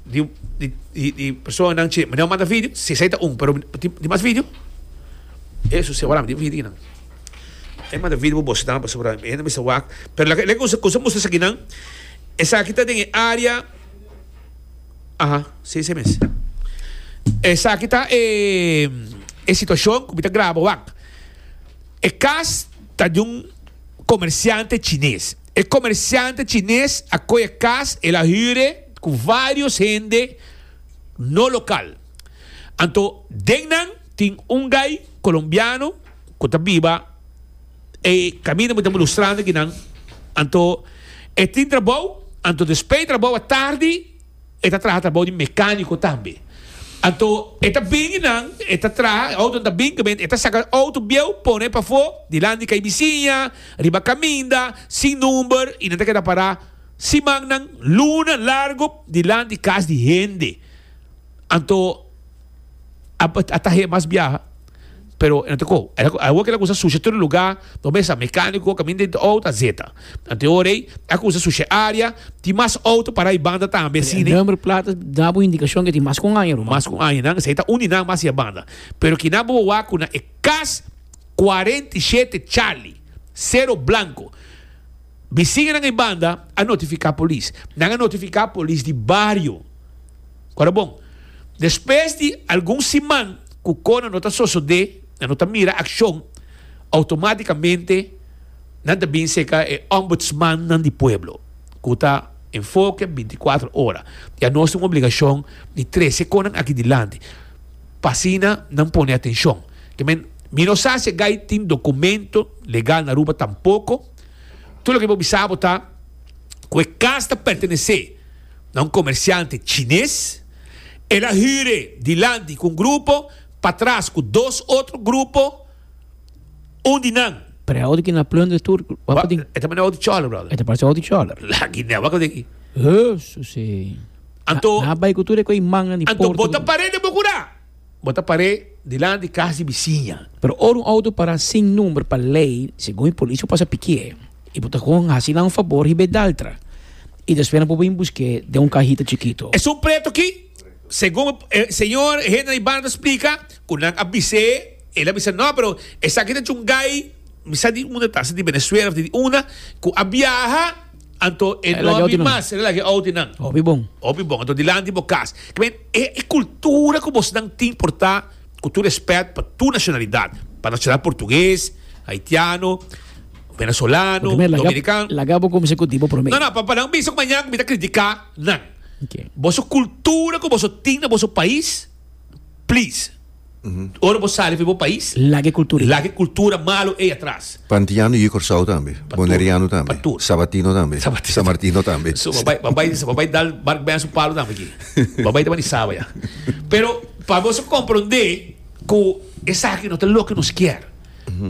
Di di di di personanan che mi no manda video si esei ta un pero tin tin mas video eso si ora mi tin video nan e manda video pa boso nan pasobra mi hende mester wak pero lak lak kusa kusa mustra esaki nan esaki ta den e area aha si esei mes esaki ta e e situacion ku mi ta graba wak e kas ta di un komersiante chines. E komersiante chines a koe e kas, el a hür e ku vários hende no lokal. Anto den nan tin un gai kolombiano ku ta biba e kaminda mi ta mustrando akinan. Anto e tin trabou, anto despues di trabou atardi E ta traha trabou di mecanico tambe. Anto e ta bini nan, e ta traha, e autonan ta bin, e ta saca auto bieu pone pafó dilanti cay bisiña, riba caminda, sin number y nan ta keda para simannan, luna largo dilanti cas di hende. Anto a a tahe mas biaha pero e no ta koho. Awor ke el a kusa susha tur luga, no mesa mecanico kaminda den auto a zeta. Anto e ora ei a kusa susha e area, tin mas auto para e banda tambe asina. E number plat ta da bo indikashon ke tin mas ku un aña ruman. Mas ku un aña nan, esei ta un di nan mas e banda. Pero kinan bo wak ku na e kas 47 Charlie, Cero Blanco, bisiñanan e banda a notifiká polis. Nan a notifiká polis di bario. Ora bon, despues di algun siman ku kona no ta sosodé, nan no ta mira akshon, outomátikamente nan ta bin seka e ombudsmannan di pueblo, ku ta enfoke bintikuater ora. I anos tin un obligashon di trese konan aki dilanti, pa asina nan pone atenshon. Ke men, mi no sa si e gai tin dokumento legal na Aruba tampoko. Tur loke mi por bisa bo ta ku e kas ta pertenesé. na un komersiante chines. El a hür dilanti ku un grupo, patras ku dos otro grupo, un di nan. Pero e auto ki na plunder tur, wak tin? E ta manda auto chòler, brother. E ta parse auto chòler. Laki ne, wak tin aki. Hesus e. Anto. Nan a bai ku tur e ku e mannan di porta. Anto bo ta par'é den bo kurá. Bo ta par'é dilanti kas di bisiña. Pero ora un auto para sin number pa ley, segun e polis bo pasa pikié y bo ta con haci nan un fabor hiba e daltra y despues nan por bin busk'é den un cahita chikito. Esun preto aki, segun e señor Henry Banda ta splica, cu nan a bis'é, el a bisa no, pero esaki ta chungay, mi sa di unda ta, sa di Venezuela of di unda, cu a biaha. Anto e no a bin mas, el a laga e outo einan. Hopi bon. Hopi bon. Anto dilanti bo kas. Ke men, e e kultura ku bosnan tin por ta ku tur respèt pa tur nashonalidat. Pa nashonalidat portugues, haitiano, venezolano, dominikano. Laga bo kuminsá ku di bo promé. No, no, pa nan bisa ku mañana ku mi ta kritiká nan. Boso kultura ku boso tin na boso pais, please. Ora bo sali for bo pais. Laga e kultura ei. Laga e kultura malu ei atras. Pantiano yu Kòrsou tambe. Boneriano tambe. Pa tur. Sabatino tambe. Samartino tambe. So bo bai bo bai bo bai dal Mark Ben su palu tambe aki. Bo bai ta di Saba ya. Pero pa boso komprondé ku esaki no ta loke nos kier.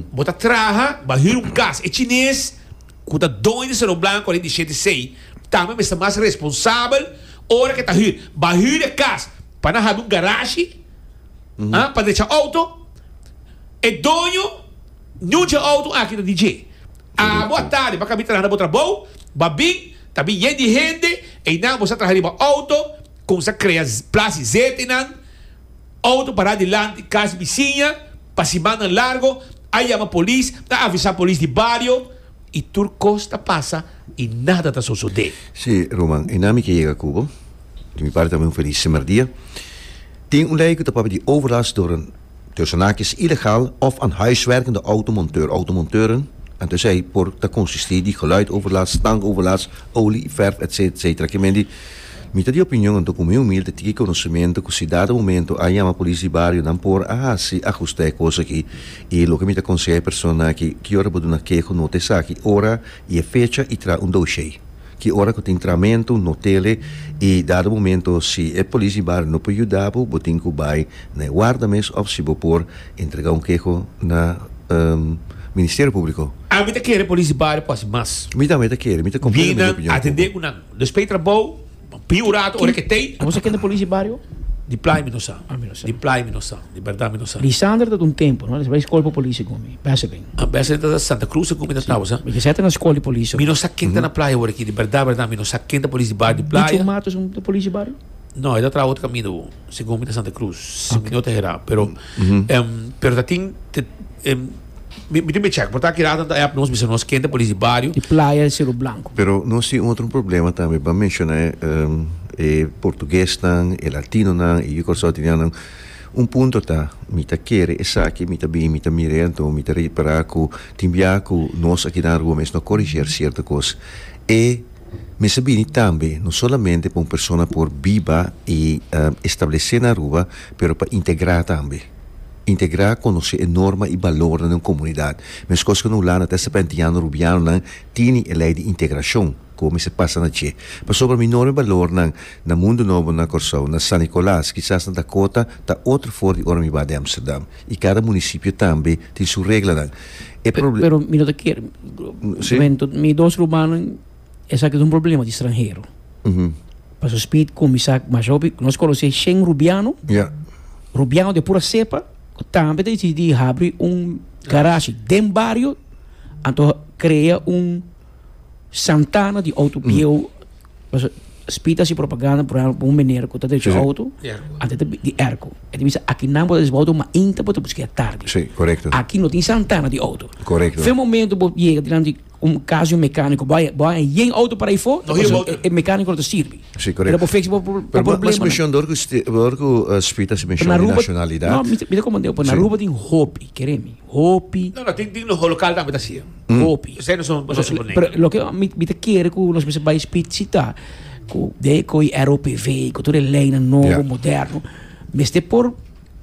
Bo ta traha, bo a hür un kas. E chines ku ta doño di Cerro Blanco 47 tambe mester mas responsabel ora ke ta hür. Bo a hür e kas pa nan habi un garashi. Ah, pa drecha auto, e doño niun dje auto aki ta di dje. Abo a tarde pa kabi traha na bo trabou, bo a bin, ta bin yen di hende, einan bo sa traha riba auto, kumsa krea plas di zete einan. Auto pará dilanti kas bisiña pa simannan largo, a yama polis, a avisá polis di bario i tur kos ta pasa i nada ta sosodé. Sí, ruman, e nami ke yega ku bo. Di mi parti tambe un felis semerdia. Tin un lei ku ta papia di overlast door een tussen haakjes illegaal of aan huiswerkende automonteur, automonteuren, anto esei por ta konsistí di geluidoverlast, stankoverlast, olie, verf, etc. Etc. Ke men di, mi ta di opinion anto ku mi humilde tiki konosementu ku si dado momento a yama polis di bario nan por a hasi ahustá e kos aki i loke mi ta konsehá e persona aki ki ora bo duna keho nota esaki ora i e fecha i traha un doshé. Ki ora ku tin tramentu, no tele i dado momento si e polis di bario no por yuda bo, bo tin ku bai na e warda mes òf si bo por entrega un keho na Ministerio Públiko. Ami ta kere polis di bario por hasi mas. Mi tambe ta kere, mi ta kompletamente opinion ku bo. Binan atendé ku nan. Despues di trabou, pidi un rato ora ke tei. Abo sa ken ta polis di bario? Di playa mi no sa. Ah, mi no sa. Di playa mi no sa. Di bèrdat mi no sa. Lisander ta un tempu, no? Bai skol pa polis segun mi. Besseling. Ah, Besseling ta Santa Cruz segun mi ta tabata, sa. Mi ke sa ta na skol di polis. Mi no sa ken ta na playa awor aki. Di bèrdat, bèrdat mi no sa ken ta polis di bario di playa. Bicho Matos un ta polis di bario? No, e ta traha otro kaminda bo. Segun mi ta Santa Cruz. Si mi no ta hera. Pero, pero ta tin, Mi tin be check, por ta kira ta app nos bisa nos ken ta polis di bario. Di playa Cerro Blanco. Pero nos tin otro problema tambe, ban menciona e portuguesnan, e latinonan, e yukorsotinianonan. Un punto ta, mi ta kere esaki, mi ta bin, mi ta mir'e, anto mi ta ripara ku tin bia ku nos aki na Aruba mes no koriger sierto kos. E mester bini tambe no solamente pa un persona por biba i establese na Aruba, pero pa integra tambe. Integrá konosé e norma i balornan den un komunidat. Meskos ku na Hulanda ta sepentiano rubianonan tini e lei di integrashon ku bo mester pasa na dje. Pasobra mi norma i balornan na Mundu Nobo na Kòrsou, na San Nikolas, kisas na Dakota ta otro for di ora mi ba di Amsterdam. I kada munisipio tambe tin su reglanan. E proble. Pero mi no ta kere. Mi dos rumannan esaki ta un problema di stranhero. Pasobra Speed kuminsá masha hopi, nos konosé shen rubiano. Rubiano de pura cepa cu tambe ta dicidi di habri un garage den bario anto crea un santana di auto bieu. Pasobra Speed ta haci propaganda por ehempel pa un meneer cu ta drecha auto anto ta di airco. E ta bisa akinan bo ta deci auto mainta bo ta busca e atardi. Aki no tin santana di auto. Fe momento bo yega dilanti Un cas di un mecanico, bo a yen auto para ifo, e mecanico no ta sirbi. Sí, correcto. Pero bo fix bo Pero problema. Mas mencion door cu door cu Speed a mencion di nacionalidad. No, mi ta comprende, pero na Aruba tin hopi, kere mi, hopi. No, no, tin tin local tambe ta haci. Hopi. Esey no son no son Pero loke mi ta kere cu nos mester bay Speed si ta cu de cu e ROPV, cu tur e leynan nobo, moderno, mester por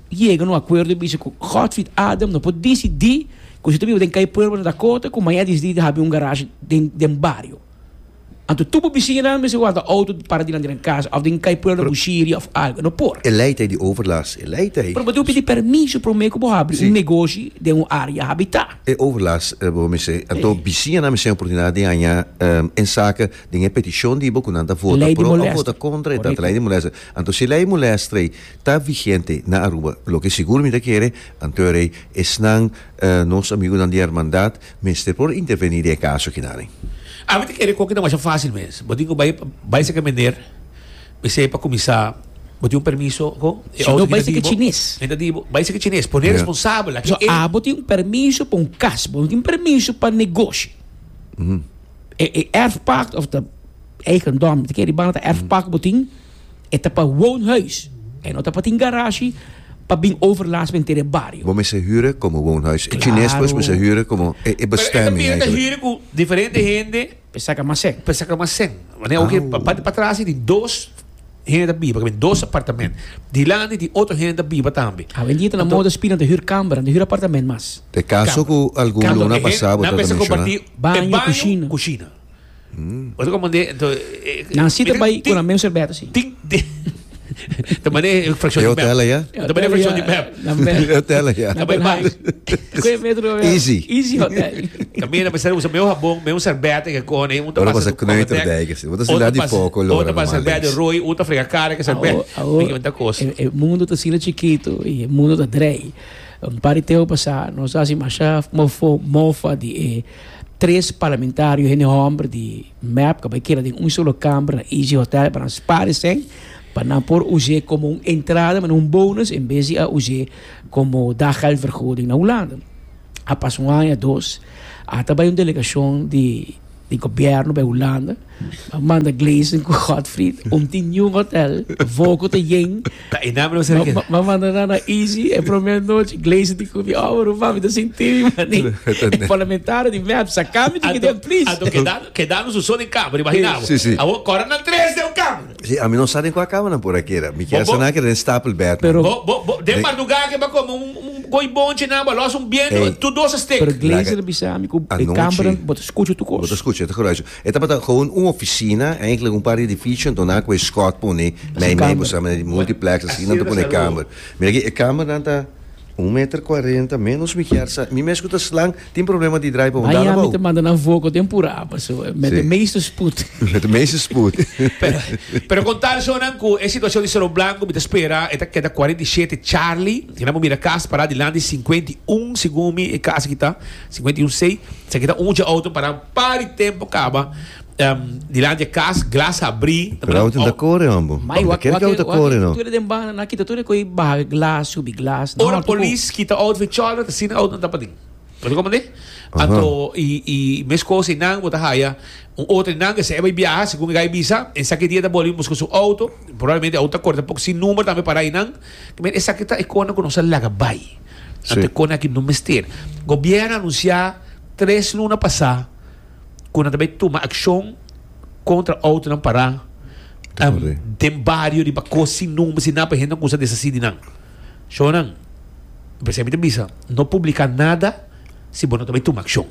yega na un acuerdo y bisa cu Godfried Adam no por dicidi Ku si ta biba den kai pueblo na Dakota ku maña disidi di habri un garage den den bario. Anto tur bo bisiñanan mester warda outo para dilanti nan kas òf den kai pueblo Bushiri òf algo. No por. E lei ta ei di overlast, e lei ta ei. Pero bo tin ku pidi permiso promé ku bo habri un negoshi den un área habitá. E overlast bo mester, anto bisiñanan mester tin oportunidat di haña ensake den e petishon di bo ku nan ta vota pro òf vota kontra e ta lei di molester. Anto si e lei molester ei ta vigente na Aruba, loke sigur mi ta kere, anto e rei Esnan, nos amigunan di hermandad, mester por intervení den e kaso akinani. Ami ta kere koki ta masha fásil mes. Bo tin ku bai bai seka meneer, p'esei pa kuminsá bo tin un permiso ko? E Si no outo bai ki ta seka di bo, chines. e ta di bo, bai seka chines, pone responsabel. Aki So e. abo tin un permiso pa un kas, bo no tin permiso pa negoshi. E e erfpacht of ta eigendom, ta kere banda ta erfpacht bo tin. E ta pa woonhuis. E no ta pa tin garashi pa bin overlast menter e bario. Bo mester huren como woonhuis. E chines pues mester huren como e bestemming Pero e ta eigenlijk. huren cu diferente hende. Pa saca mas cen. Pa saca mas cen. Wanneer oke pa parti patras tin dos hende ta biba, dos apartament. Dilanti tin otro hende ta biba tambe. Awendia ta na moda spina ta huur kamber, nan ta huur apartament mas. E caso cu algun luna pasa bo ta menciona. Baño, cushina. Cushina. Bo ta komand'é, enton e. Nan si ta bai ku nan mes serbeta si. Tin tin Ta manera e frakshon E di mep. hotel aya? Ta manera e frakshon di mep. E hotel aya. Ta bai bai. Koe metro. Easy. Easy hotel. Kaminda mester usa meu habon, meu serbeta ke kone, un ta Ora pasa pasa Kneuterdijk si. Bo ta sila di poko lora. Otro pasa serbeta di roi, un ta frega kara ke serbeta. Awo e mundo ta asina chikito i e mundo ta drei. Un par di tempo pasa nos a hasi masha mofo mofa di e Tres parlamentario hende homber di mep ka bai keda den un solo kamber na Easy Hotel pa nan spar esei. Pa nan por us'é komo un entrada, manera un bonus, en bes di a us'é komo daggeldvergoeding na Hulanda. A pasa un aña, dos, a ta bai un delegashon di di gobièrnu bai Hulanda, a manda Gleison ku Godfried om tin niun hotel, voko ta yen. Ta e naam no ser Ma manda nan na Easy e promé nochi, Gleison di ku mi, oh ruman mi ta sinti mi mani. E parlamentario di mep, saka mi di kiden please. Anto keda kedando su so den kamer, imagina bo. Sí, sí. Awor kòrda nan tres den un kamer. Sí, ami no sa den kua kamernan por a keda. Mi kier sa nan a keda den stapelbed. Pero. Bo, bo, bo, den mardugá ke bo a kome un, un goi bonchi nan, bo a los un biento, Ey. tur dos a stek. Pero Glazer a bisa mi ku e Anochi. kamernan bo ta skucha tur kos. Bo ta skucha, e ta geruis. E tabata gewoon un ofisina, eigenlijk un par di edifisio, anto nan a kohe skòt pone mei mei, bo sa, manera di multiplex, asina nan ta pone kamer. Mira aki, e kamernan ta un meter kuarenta, menos mi kier sa. Mi mes ku ta slang tin problema di draai pa un dal Miami abou. ta manda nan voko den purá, paso met de Sí. meeste spoed. Met de meeste spoed. Pero, pero con tal shonan cu e situacion di Cerro Blanco mi ta spera e ta keda 47 Charlie. Kina bo mira cas para dilanti 51 segun mi e cas aki ta 51 C. Esaki ta un dje auto para un par di tempo caba dilanti e cas, glas habri. Pero auto no ta core hombo. Mai Ta wak kere wak ki auto wak core no. tur den banda nan kita tur e koe baha glas subi glas nan Ora horta ku. polis kita auto fi chòlder ta asina auto nan ta paden. Bo ta komprende? Anto i i meskos einan bo ta haya un otro einan ke si e bai biaha segun e gai bisa esaki dia ta boli buska su auto probablemente auto ta kore tampoco sin number tambe para einan. Esaki ta e kona ku nos a laga bai. Anto e kona aki no mester. Gobierno a anunsia tres luna pasa ku nan ta bai tuma akshon kontra outonan pará den bario riba kos sin number sin nada pa hende no kusa deshasí di nan. Shownan, p'esei mi ta bisa, no publiká nada si bo no ta bai tuma akshon.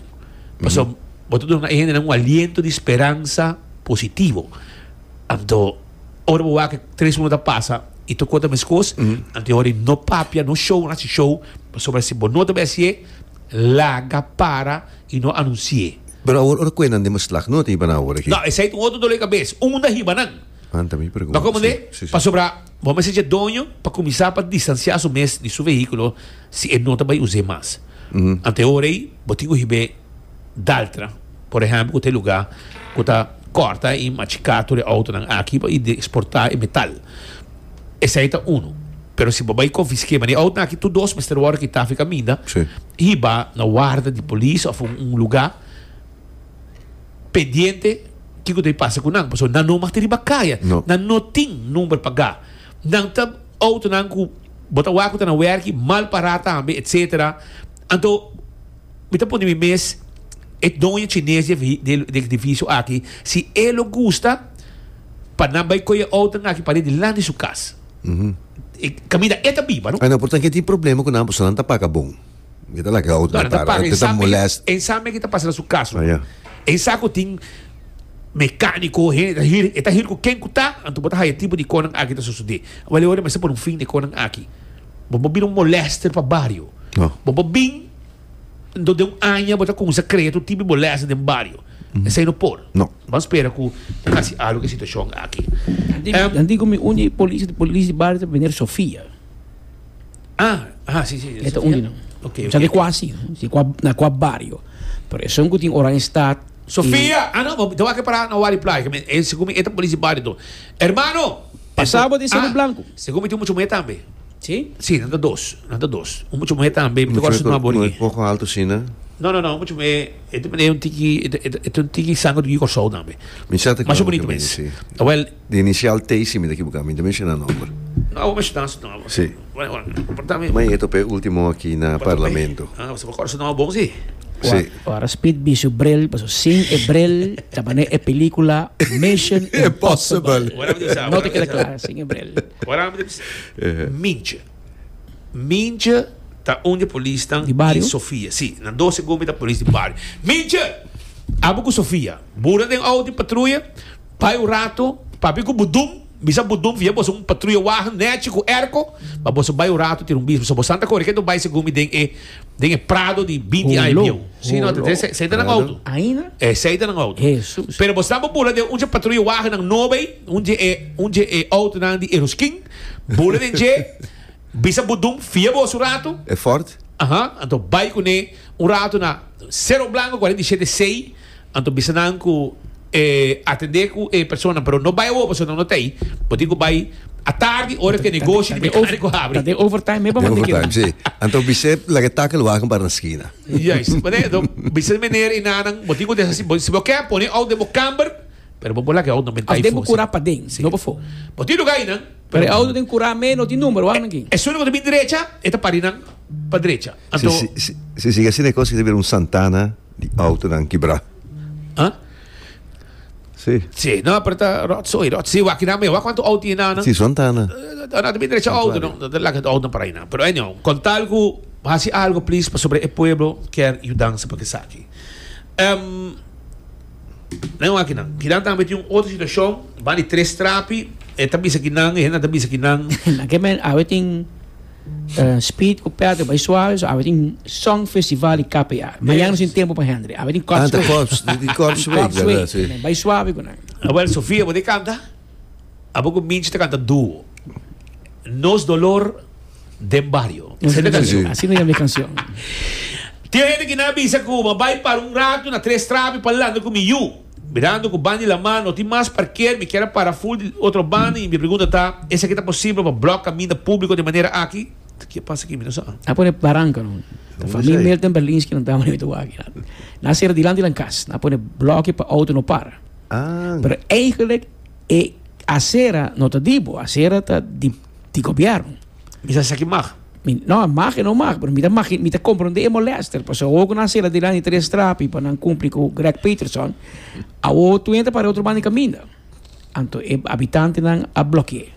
Pasobra bo ta duna e hendenan un aliento di speransa positivo. Anto ora bo wak tres luna ta pasa i tur kos ta meskos, anto e ora ei no papia, no show, no hasi show, pasobra si bo no ta bai hasié, laga para. I no anunsi'é. Pero awor ora ku e nan den beslag no ta hiba nan awor aki. No, esei ta un otro dolor di kabes. Unda hiba nan? Anta mi pregunta. Bo komprendé? Si, si, si. Pasobra bo mester dje doño pa kuminsá pa distansiá su mes di su vehíkulo si e no ta bai us'é mas. Ante e ora ei bo tin ku hib'é Daltra, por ehèmpel, ku ta e lugá ku ta kòrta i machiká tur e outonan aki pa i eksportá e metal. Esei ta unu. Pero si bo bai konfisk'é, manera e outonan aki tur dos mester wòrdu kitá fi kaminda, hiba na warda di polis òf un lugá pendiente kiko ta pasa ku nan. Pasobra nan no mag ta riba kaya. Nan no tin number pagá. Nan ta outonan ku bo ta wak ku ta na wèrki mal pará tambe, etsetera. Anto mi ta pone mi mes e doño chines di e edifisio aki si e lo gusta pa nan bai kohe e outonan aki pa dilanti su kas. E kaminda e ta biba, no? Ay no, por tanke tin problema ku nan, pasobra nan ta paga bon. E ta laga outo No, nan ta para, paga. e ta molest. En sa me ke ta pasa na su kas. Ah, ya. En sa ku tin mekaniko, hende ta hür, e ta hür ku ken ku ta, anto bo ta haya tipo di konan aki ta sosodé. Awor e ora mester pone un fin na e konan aki. Bo por bira un molester pa bario. No. Bo por bin. Enton den un aña bo ta cuminsa crea tur tipo di molestia den bario. Esey no por. No. Ban spera cu ta haci algo cu e situacion aki. Dan dico mi un di polis di polis di bario ta meneer Sofia. Ah, ah, si, si. E ta un di nan. Ok, ok. Sa di cua si, si cua, na cua bario. Pero esun cu tin Oranjestad. Sofia! Ah, no, bo ta wak para na Wari Playa. E segun mi e ta polis di bario to. Hermano! Pasabo di Cerro Blanco. Segun mi tin mucho muher tambe. Sí? Sí, nan ta dos. Nan ta dos. Un mucha muhé tambe, mi ta kòrda su nomber No aki. e poko alto asina. No, no, no, un mucha muhé, e ta manera un tiki, e ta, e ta un tiki sanger di Kòrsou tambe. Mi sa ta Masha kòrda bonito ku mi, mes. sí. Awel. Di inisial T si mi ta ekiboká, mi ta menshoná nomber. No, bo menshoná su nomber. Sí. Bueno, bueno, por ta mi. Ma e topa e último aki na parlamento. Ah, bo kòrda su nomber bon sí. Sí. Ora Speed bi su bril, paso sin e bril ta manera e pelikula Mission Impossible. No ta keda kla sin e bril. Ora mi ta bisa Mintje. Mintje ta un di e polisnan Di bario? di Sofia. Si, na dos segun mi ta polis di bario. Mintje! Abo ku Sofia, bura den auto di patruya, bai un rato, papia ku Budum, bisa Budum fia boso un patruya wagen nechi ku airco, pa boso bai un rato tira un bis. Pasobra boso ta kore ke bai segun mi den e den e Prado di binti aña Holo, bieu. Si, no, holo. esei ta nan auto. Aina? Esei ta nan auto. Hesus. Pero boso ta por bura den un dje patruya wagennan nobo ei. Un dje e un dje e autonan di Eroskin bula den dje, bisa Budum fia boso un ratu. E Ford? Aha, anto bai kuné un ratu na Cerro Blanco 47 C, anto bisa nan ku e atendé ku e personanan, pero no bai awor pasobra nan no ta ei, bo tin ku bai Atardi ora ku e negoshi di mekániko habri. Ta den overtime me pa Den manda overtime, keda. si. Anto bis'é laga e takelwagen para na skina. Juist. Wanneer, do, bisa meneer i nanan, bo tin ku deshasí, bo, si bo ke pone outo den bo kamber, pero bo por laga e outo na Of mentai den bo fo, kura si. paden, Si. no pafó. Bo tin lugá einan, Pero pero e outo den kura me no tin number, wak nan aki. Esun ku ta bin drecha, e ta pari nan pa drecha. Si, Anto, si, si, si sigui asina e kos ta bira un Santana di outonan kibrá. ah? Sí. Sí, no, pero ta rotzooi, rot. Sí, wak nan mee, wak cuanto auto tiene nan. Sí, Santana. No, no, derecha auto, no, no, laga auto para ahí nan. Pero anyhow, con tal ku hasi algo please pa sobre e pueblo kier yudansa pa esaki. Um, nan wak nan. Kinan tambe tin un otro situacion, ban di tres trapi, e ta bisa kinan, e hende ta bisa kinan. Na ke men awe tin Speed ku Patrick bai suave so awe tin Song Festival di KPA. Mañana nos tin tempo pa Hendry. Awe tin Ah, Korps ta Week. Korps, di Korps Week, Korps verdad, Week. sí. Bai suave ku nan. Awel Sofia bo te kanta? Abo ku Minchi ta kanta duo. Nos dolor den bario. Asina ta kanshon. Asina yama e kanshon. Tin hende ki nan a bisa ku bo a bai para un ratu na Tres Trapi pa landa ku mi yu. Mirando ku banda di laman no tin mas parker, mi kier a para ful di otro banda i mi pregunta ta, esaki ta posibel pa blòk kaminda públiko di manera aki? Ke pasa aki? Mi no sa. A pone baranka no. Ta famia Milton Berlinski nan taba mi ta wak. Nan a sera dilanti nan kas. Nan a pone blòki pa outo no para. Pero eigenlijk e acera no ta di bo, acera ta di di gobièrnu. Mi sa esaki mag. Mi, no, mag e no mag, pero mi ta magi, mi ta comprende e molester, pasobra awor ku nan sera dilanti tres trapi pa nan kumpli ku Greg Peterson, awor tur hende ta para otro banda di kaminda. Anto e habitantenan a bloke'é.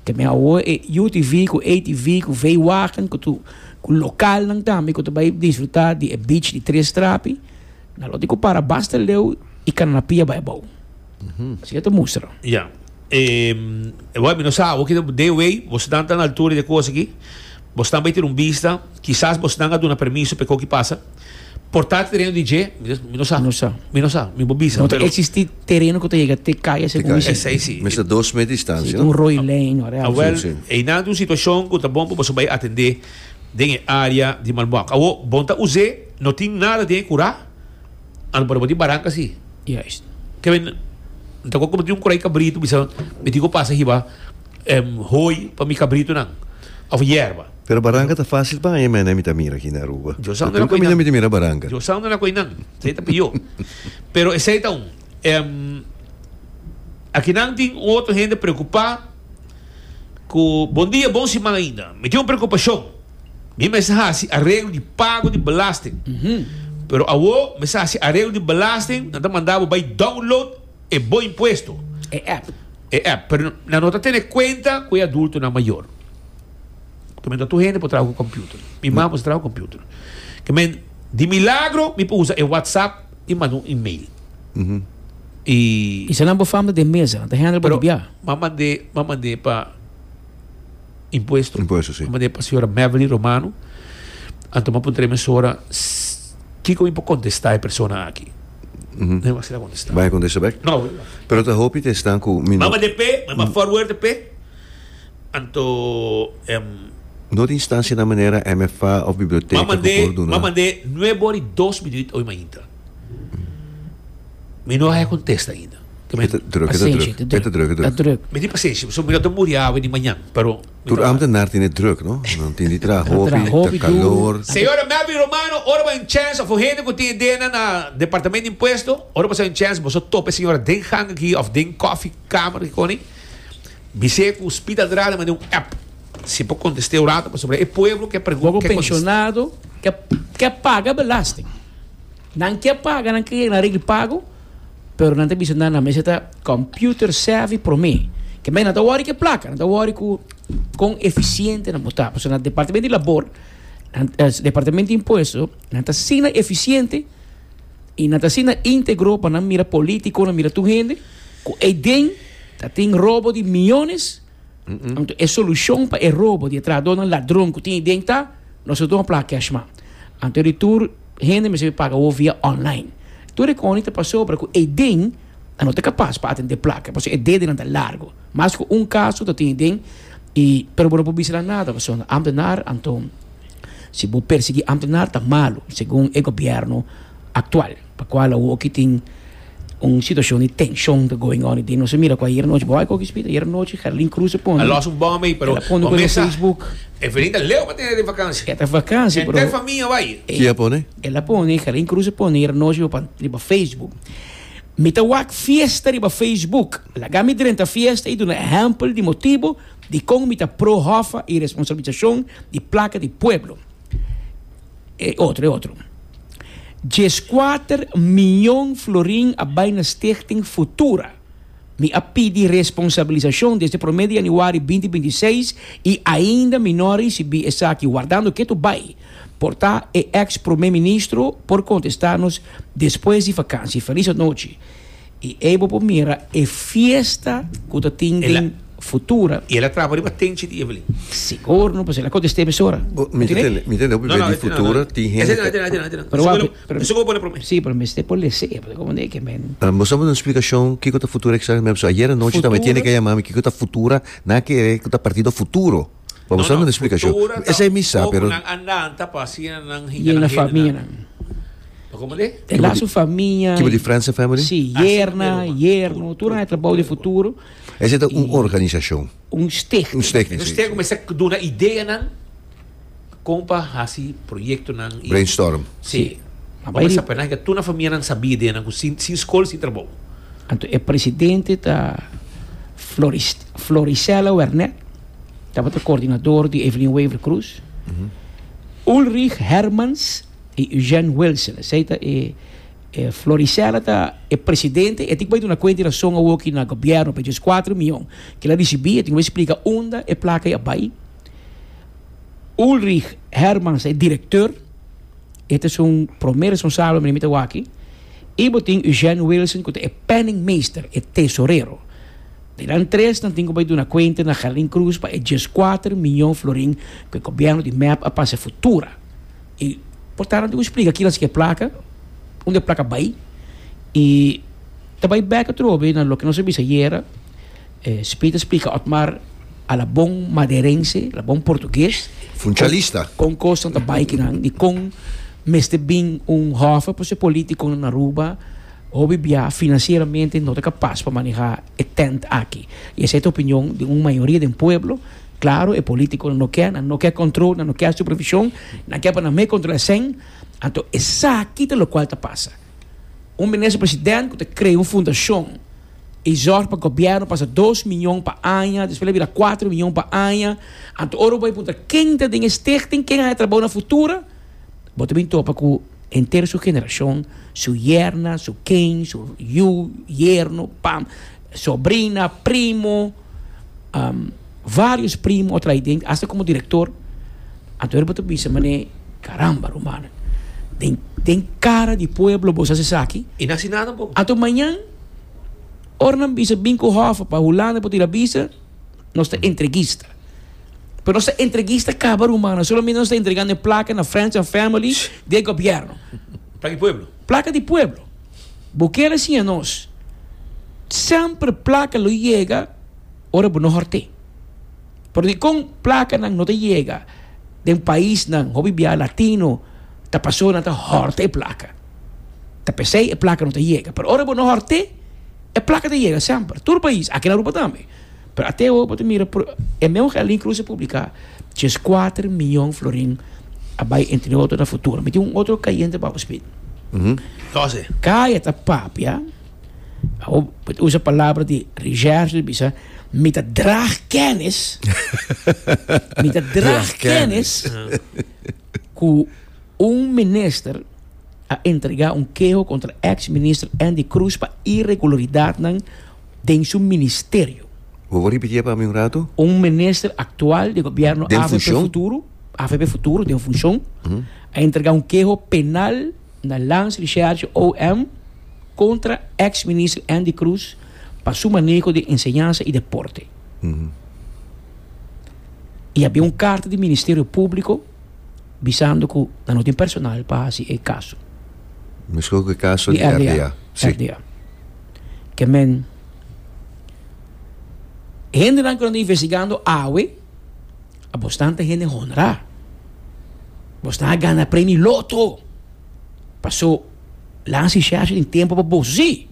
Te men awor e UTV ku ATV ku V-wagen ku tur ku lokalnan tambe ku ta bai disfruta di e beach di tres trapi, nan lo tin ku para basta leu i kana na pia bai abou. Asina ta mustra. Ya. E wou mi no sa awor ki de way bosnan ta na altura di e kos aki bosnan bai tira un bista kisas bosnan a duna permiso pa e koki pasa por ta tereno di dje mi no sa No sa. mi no sa mi por bisa No ta pero existi tereno ku ta yega te kaya segun mi si. Esei si. Mester dos mes distancia Si no? un rooi lijn whatever. Awel Si, si. einan ta un situashon ku ta bon pa boso bai atende den e area di Malmok awor bon ta us'é no tin nada den e kura. Ano por bo tin baranka si. Juist. Ke men ta como tin un kurai kabritu bisa mi tin ku pasa hiba hooi pa mi kabritunan of yerba. Pero baranka ta facil pa haña mene mi ta mira aki na Aruba. Yo sa unda na Tur koinan. kaminda mi ta mira baranka. Yo sa unda na koinan. Esei ta pió. Pero esei ta un. Akinan tin un otro hende preocupa ku bon dia bon siman ainda. Mi tin un preokupashon. Mi mester hasi areglo di pago di belasting. Pero awo mester hasi areglo di belasting, nan ta manda bo bai download e bo impuesto. E app. E app. Pero nan no ta tene cuenta cu e adultonan mayor. Ke men ta tur hende por traha cu computer. Mi mama por traha cu computer. Ke men di milagro mi por usa e WhatsApp y manda un email. Y. Y sa nan bo fam ta den mesa, nan ta handle bo Pero di bia. m'a mand'é, m'a mand'é pa. Impuesto. Impuesto, si. A mand'é pa señora Meverly Romano. Anto m'a puntra e mesora kiko mi por kontestá e persona aki. Mi a asina kontestá. Bai a kontestá bek? No. Pero ta hopi ta esnan ku mi M'a no. mand'é p'e, m'a forward p'e. Anto No tin instancianan manera MFA of biblioteca M'a ku mand'é, por duna. m'a mand'é nuebe ora i dos minuut oy mainta. Mi no haya kontesta ainda. E ta druk, e ta Pasenshi, druk. E ta druk, e ta ta druk. druk. Mi tin pasenshi, pasobra mi no ta muri awe ni mañan, pero mi Tur ta. ambtenaar tin e druk, no? Nan tin di traha Ta traha hopi, hopi ta duru. kalor. Señora Melvin Romano, ora bo hay un chance of un hende cu tin idea na Departamento di Impuesto, ora bo sa un chance, boso topa e señora den gang aki of den koffie kamer aki koni, bis'é cu Speed Andrade manda un app, si por contest'é un rato, pasobra e pueblo ke pregunta, Bo ke contesta. pensionado ke ke paga belasting. Nan ke paga, nan ke yega na regla di pago. Pero nan ta bisa nan nan mester ta computer savvy prome. Ke men nan ta wori ke plaka, nan ta wori ku kon efisiente nan por ta. Pasobra na departamento di labor, nan departamento di impuesto, nan ta asina efisiente i nan ta asina integro pa nan mira politico, nan mira tur hende ku eiden ta tin robo di miyones. Anto e solushon pa e robo di e trahadónan ladron ku tin eiden ta, nos no tuma plaka cash mas. Anto di tur hende mester paga awor via online. Tur e koni ta pasobra ku eiden a no ta kapas pa atendé plaka pasobra e dedenan ta largo. Mas ku un kaso ta tin eiden i pero bo no por bisa nan nada pasobra ambtenaar anto si bo persiguí ambtenaar ta malu segun e gobièrnu aktual pa kual awoki tin. Un situacion di tension ta going on den nos a mira cu ayer nochi bo a koki spita ayer nochi Gerlin Cruz a pone A los un bom ey pero el a pone bo cu mesa Facebook Evelyn ta leu pa tene den vakantie e ta vakantie pero Henter famia bay. Ki a pone? El a pone Gerlin Cruz a pone ayer nochi riba riba Facebook Mi ta wak fiesta riba Facebook laga mi drenta fiesta y duna ehempel di motibo dicon mi ta pro hoffa y responsabilisacion di placa di pueblo. E otro, e otro. Dieskuater miyon florin a bai na Stichting Futura. Mi a pidi responsabilisashon desde promé di yanüari binti 26 i ainda mi no a risibí esaki. Wardando ketu bai. Por ta e eks promé ministro por kontestá nos despues di vakansi. Felis anochi. I ei bo por mira e fiesta ku ta tin den Futura. I el a trapa riba tenchi di Evelyn. Sigur no, pasobra el a kontest'é mesora. Bo, mi ta tende, mi tende hopi bes di Futura tin hende ta. Pero wak, pero. Eso ku bo pone promé. Sí, pero mester por les'é, pasobra komo de ke men. Bo sa bo duna splikashon kiko ta Futura eksaktamente? Pasobra ayer anochi tambe tiene ke yama mi kiko ta Futura, nan a kere ku ta partido Futuro. Bo sa duna splikashon. Esei mi sa, pero. Nan andanta pa asina nan hinka nan hendenan. Famianan. Komende? E la su famia. Kibo di Friends and Family? Si, yerna, yerno, tur nan e trabou di futuro. Esei ta un organisashon. Un stichting. Un stichting, Un si. stichting ku mester duna ideanan kon pa hasi proyektonan i. Brainstorm. Si. Bo mester sa nan tur nan famianan sabi ideanan ku sin sin skol sin trabou. Anto e presidente ta Floris Florisela Wernet, tabata koordinador di Evelyn Wever Croes. Ulrich Hermans i Eugène Wilson. Esei ta e e Floricella ta e presidente. E tin ku bai duna kuenta i rason awoki na gobièrnu pa e dieskuater mion ku el a risibí. E tin ku bai splika unda e plaka ei a bai. Ulrich Hermans ta e direkteur. E ta esun promé responsabel manera mi ta wak aki. I bo tin Eugène Wilson ku ta e penningmeester, e tesorero. Di nan tres nan tin ku bai duna kuenta na Gerlin Cruz pa e dieskuater mion florin ku e gobièrnu di mep a pasa Futura. I por ta nan tin ku splika kila si ke plaka, unda e plaka bai i ta bai bek atrobe na loke nos a bisa ayera. Speed a splika Otmar a la bon maderense, la bon portugues. Funchalista. Kon kosnan ta bai kinan i kon mester bin un hòf pa su politikonan na Aruba hopi bia finansieramente no ta kapas pa maneha e tent aki. I esei ta opinion di un mayoria den pueblo. Klaro e politikonan no ke, nan no ke kontrol, nan no ke supervishon, nan ke pa nan me kontrola esei. Anto esaki ta lokual ta pasa. Un minister president ku ta krea un fundashon i zòrg pa gobièrnu pasa dos miyon pa aña, despues el a bira kuater miyon pa aña. Anto ora bo bai puntra ken ta den e stichting, ken a haña trabou na Futura, bo ta bin topa ku henter su generashon, su yerna, su ken, su yu, yerno, pam, sobrina, primo. Varios primo a trae den, hasta como director. Anto bo ta bisa mane, caramba rumannan, den den cara di pueblo boso haci esaki. I no haci nada tampoco. Anto mañan, ora nan bisa bin cu hof pa Hulanda por tira bisa, nos ta entreguista. Pero nos ta entreguista caba rumannan, solamente nos ta entregando e placa na friends and family di e gobierno. Placa di pueblo. Placa di pueblo. Bo kier a siña nos, semper placa lo yega ora bo no hort'é. Pero dikon placanan no ta yega den paisnan hopi bia latino ta pasobra nan ta horta e placa. Ta p'esei e placa no ta yega. Pero ora bo no hort'é, e placa ta yega semper. Tur pais, aki na Aruba tambe. Pero ate awo bo ta mira e meun Gerlin Cruz a publica dieskuater miyon florin a bai entre otro na Futuro. Mi tin un otro kayente pa bo Speed. Tose. Kaya ta papia, awo bo ta usa palabra di recherche bisa mi ta draag kennis, mi ta draag kennis ku un minister a entrega un keho kontra ex minister Andy Cruz pa iregularidadnan den su ministerio. Bo por ripitié pa mi un ratu? Un minister aktual di gobièrnu Den avp funshon? Futuro, avp Futuro den funshon, a entregá un keho penal na Landsrecherche OM kontra eks minister Andy Cruz pa su maneho di enseñansa i deporte. I a bin un karta di Ministerio Públiko bisando ku nan no tin personal pa hasi e kaso. Meskos ku e kaso Di di RDA. RDA. Sí. RDA. Ke men hendenan ku nan ta investigando awe a bosnan ta hende honra. Bosnan a gana premio loto. Paso Lansi Shasha tin tempo pa boso. Sí.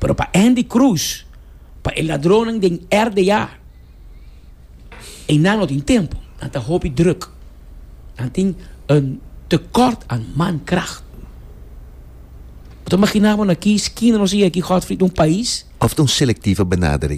Pero pa Andy Cruz, pa e ladronnan den RDA, einan no tin tempo. Nan ta hopi druk. Nan tin un tekort aan mankracht. Bo ta imagina bo na ki skina nos a yega aki, Godfried, un pais? Of ta un selectieve benadering?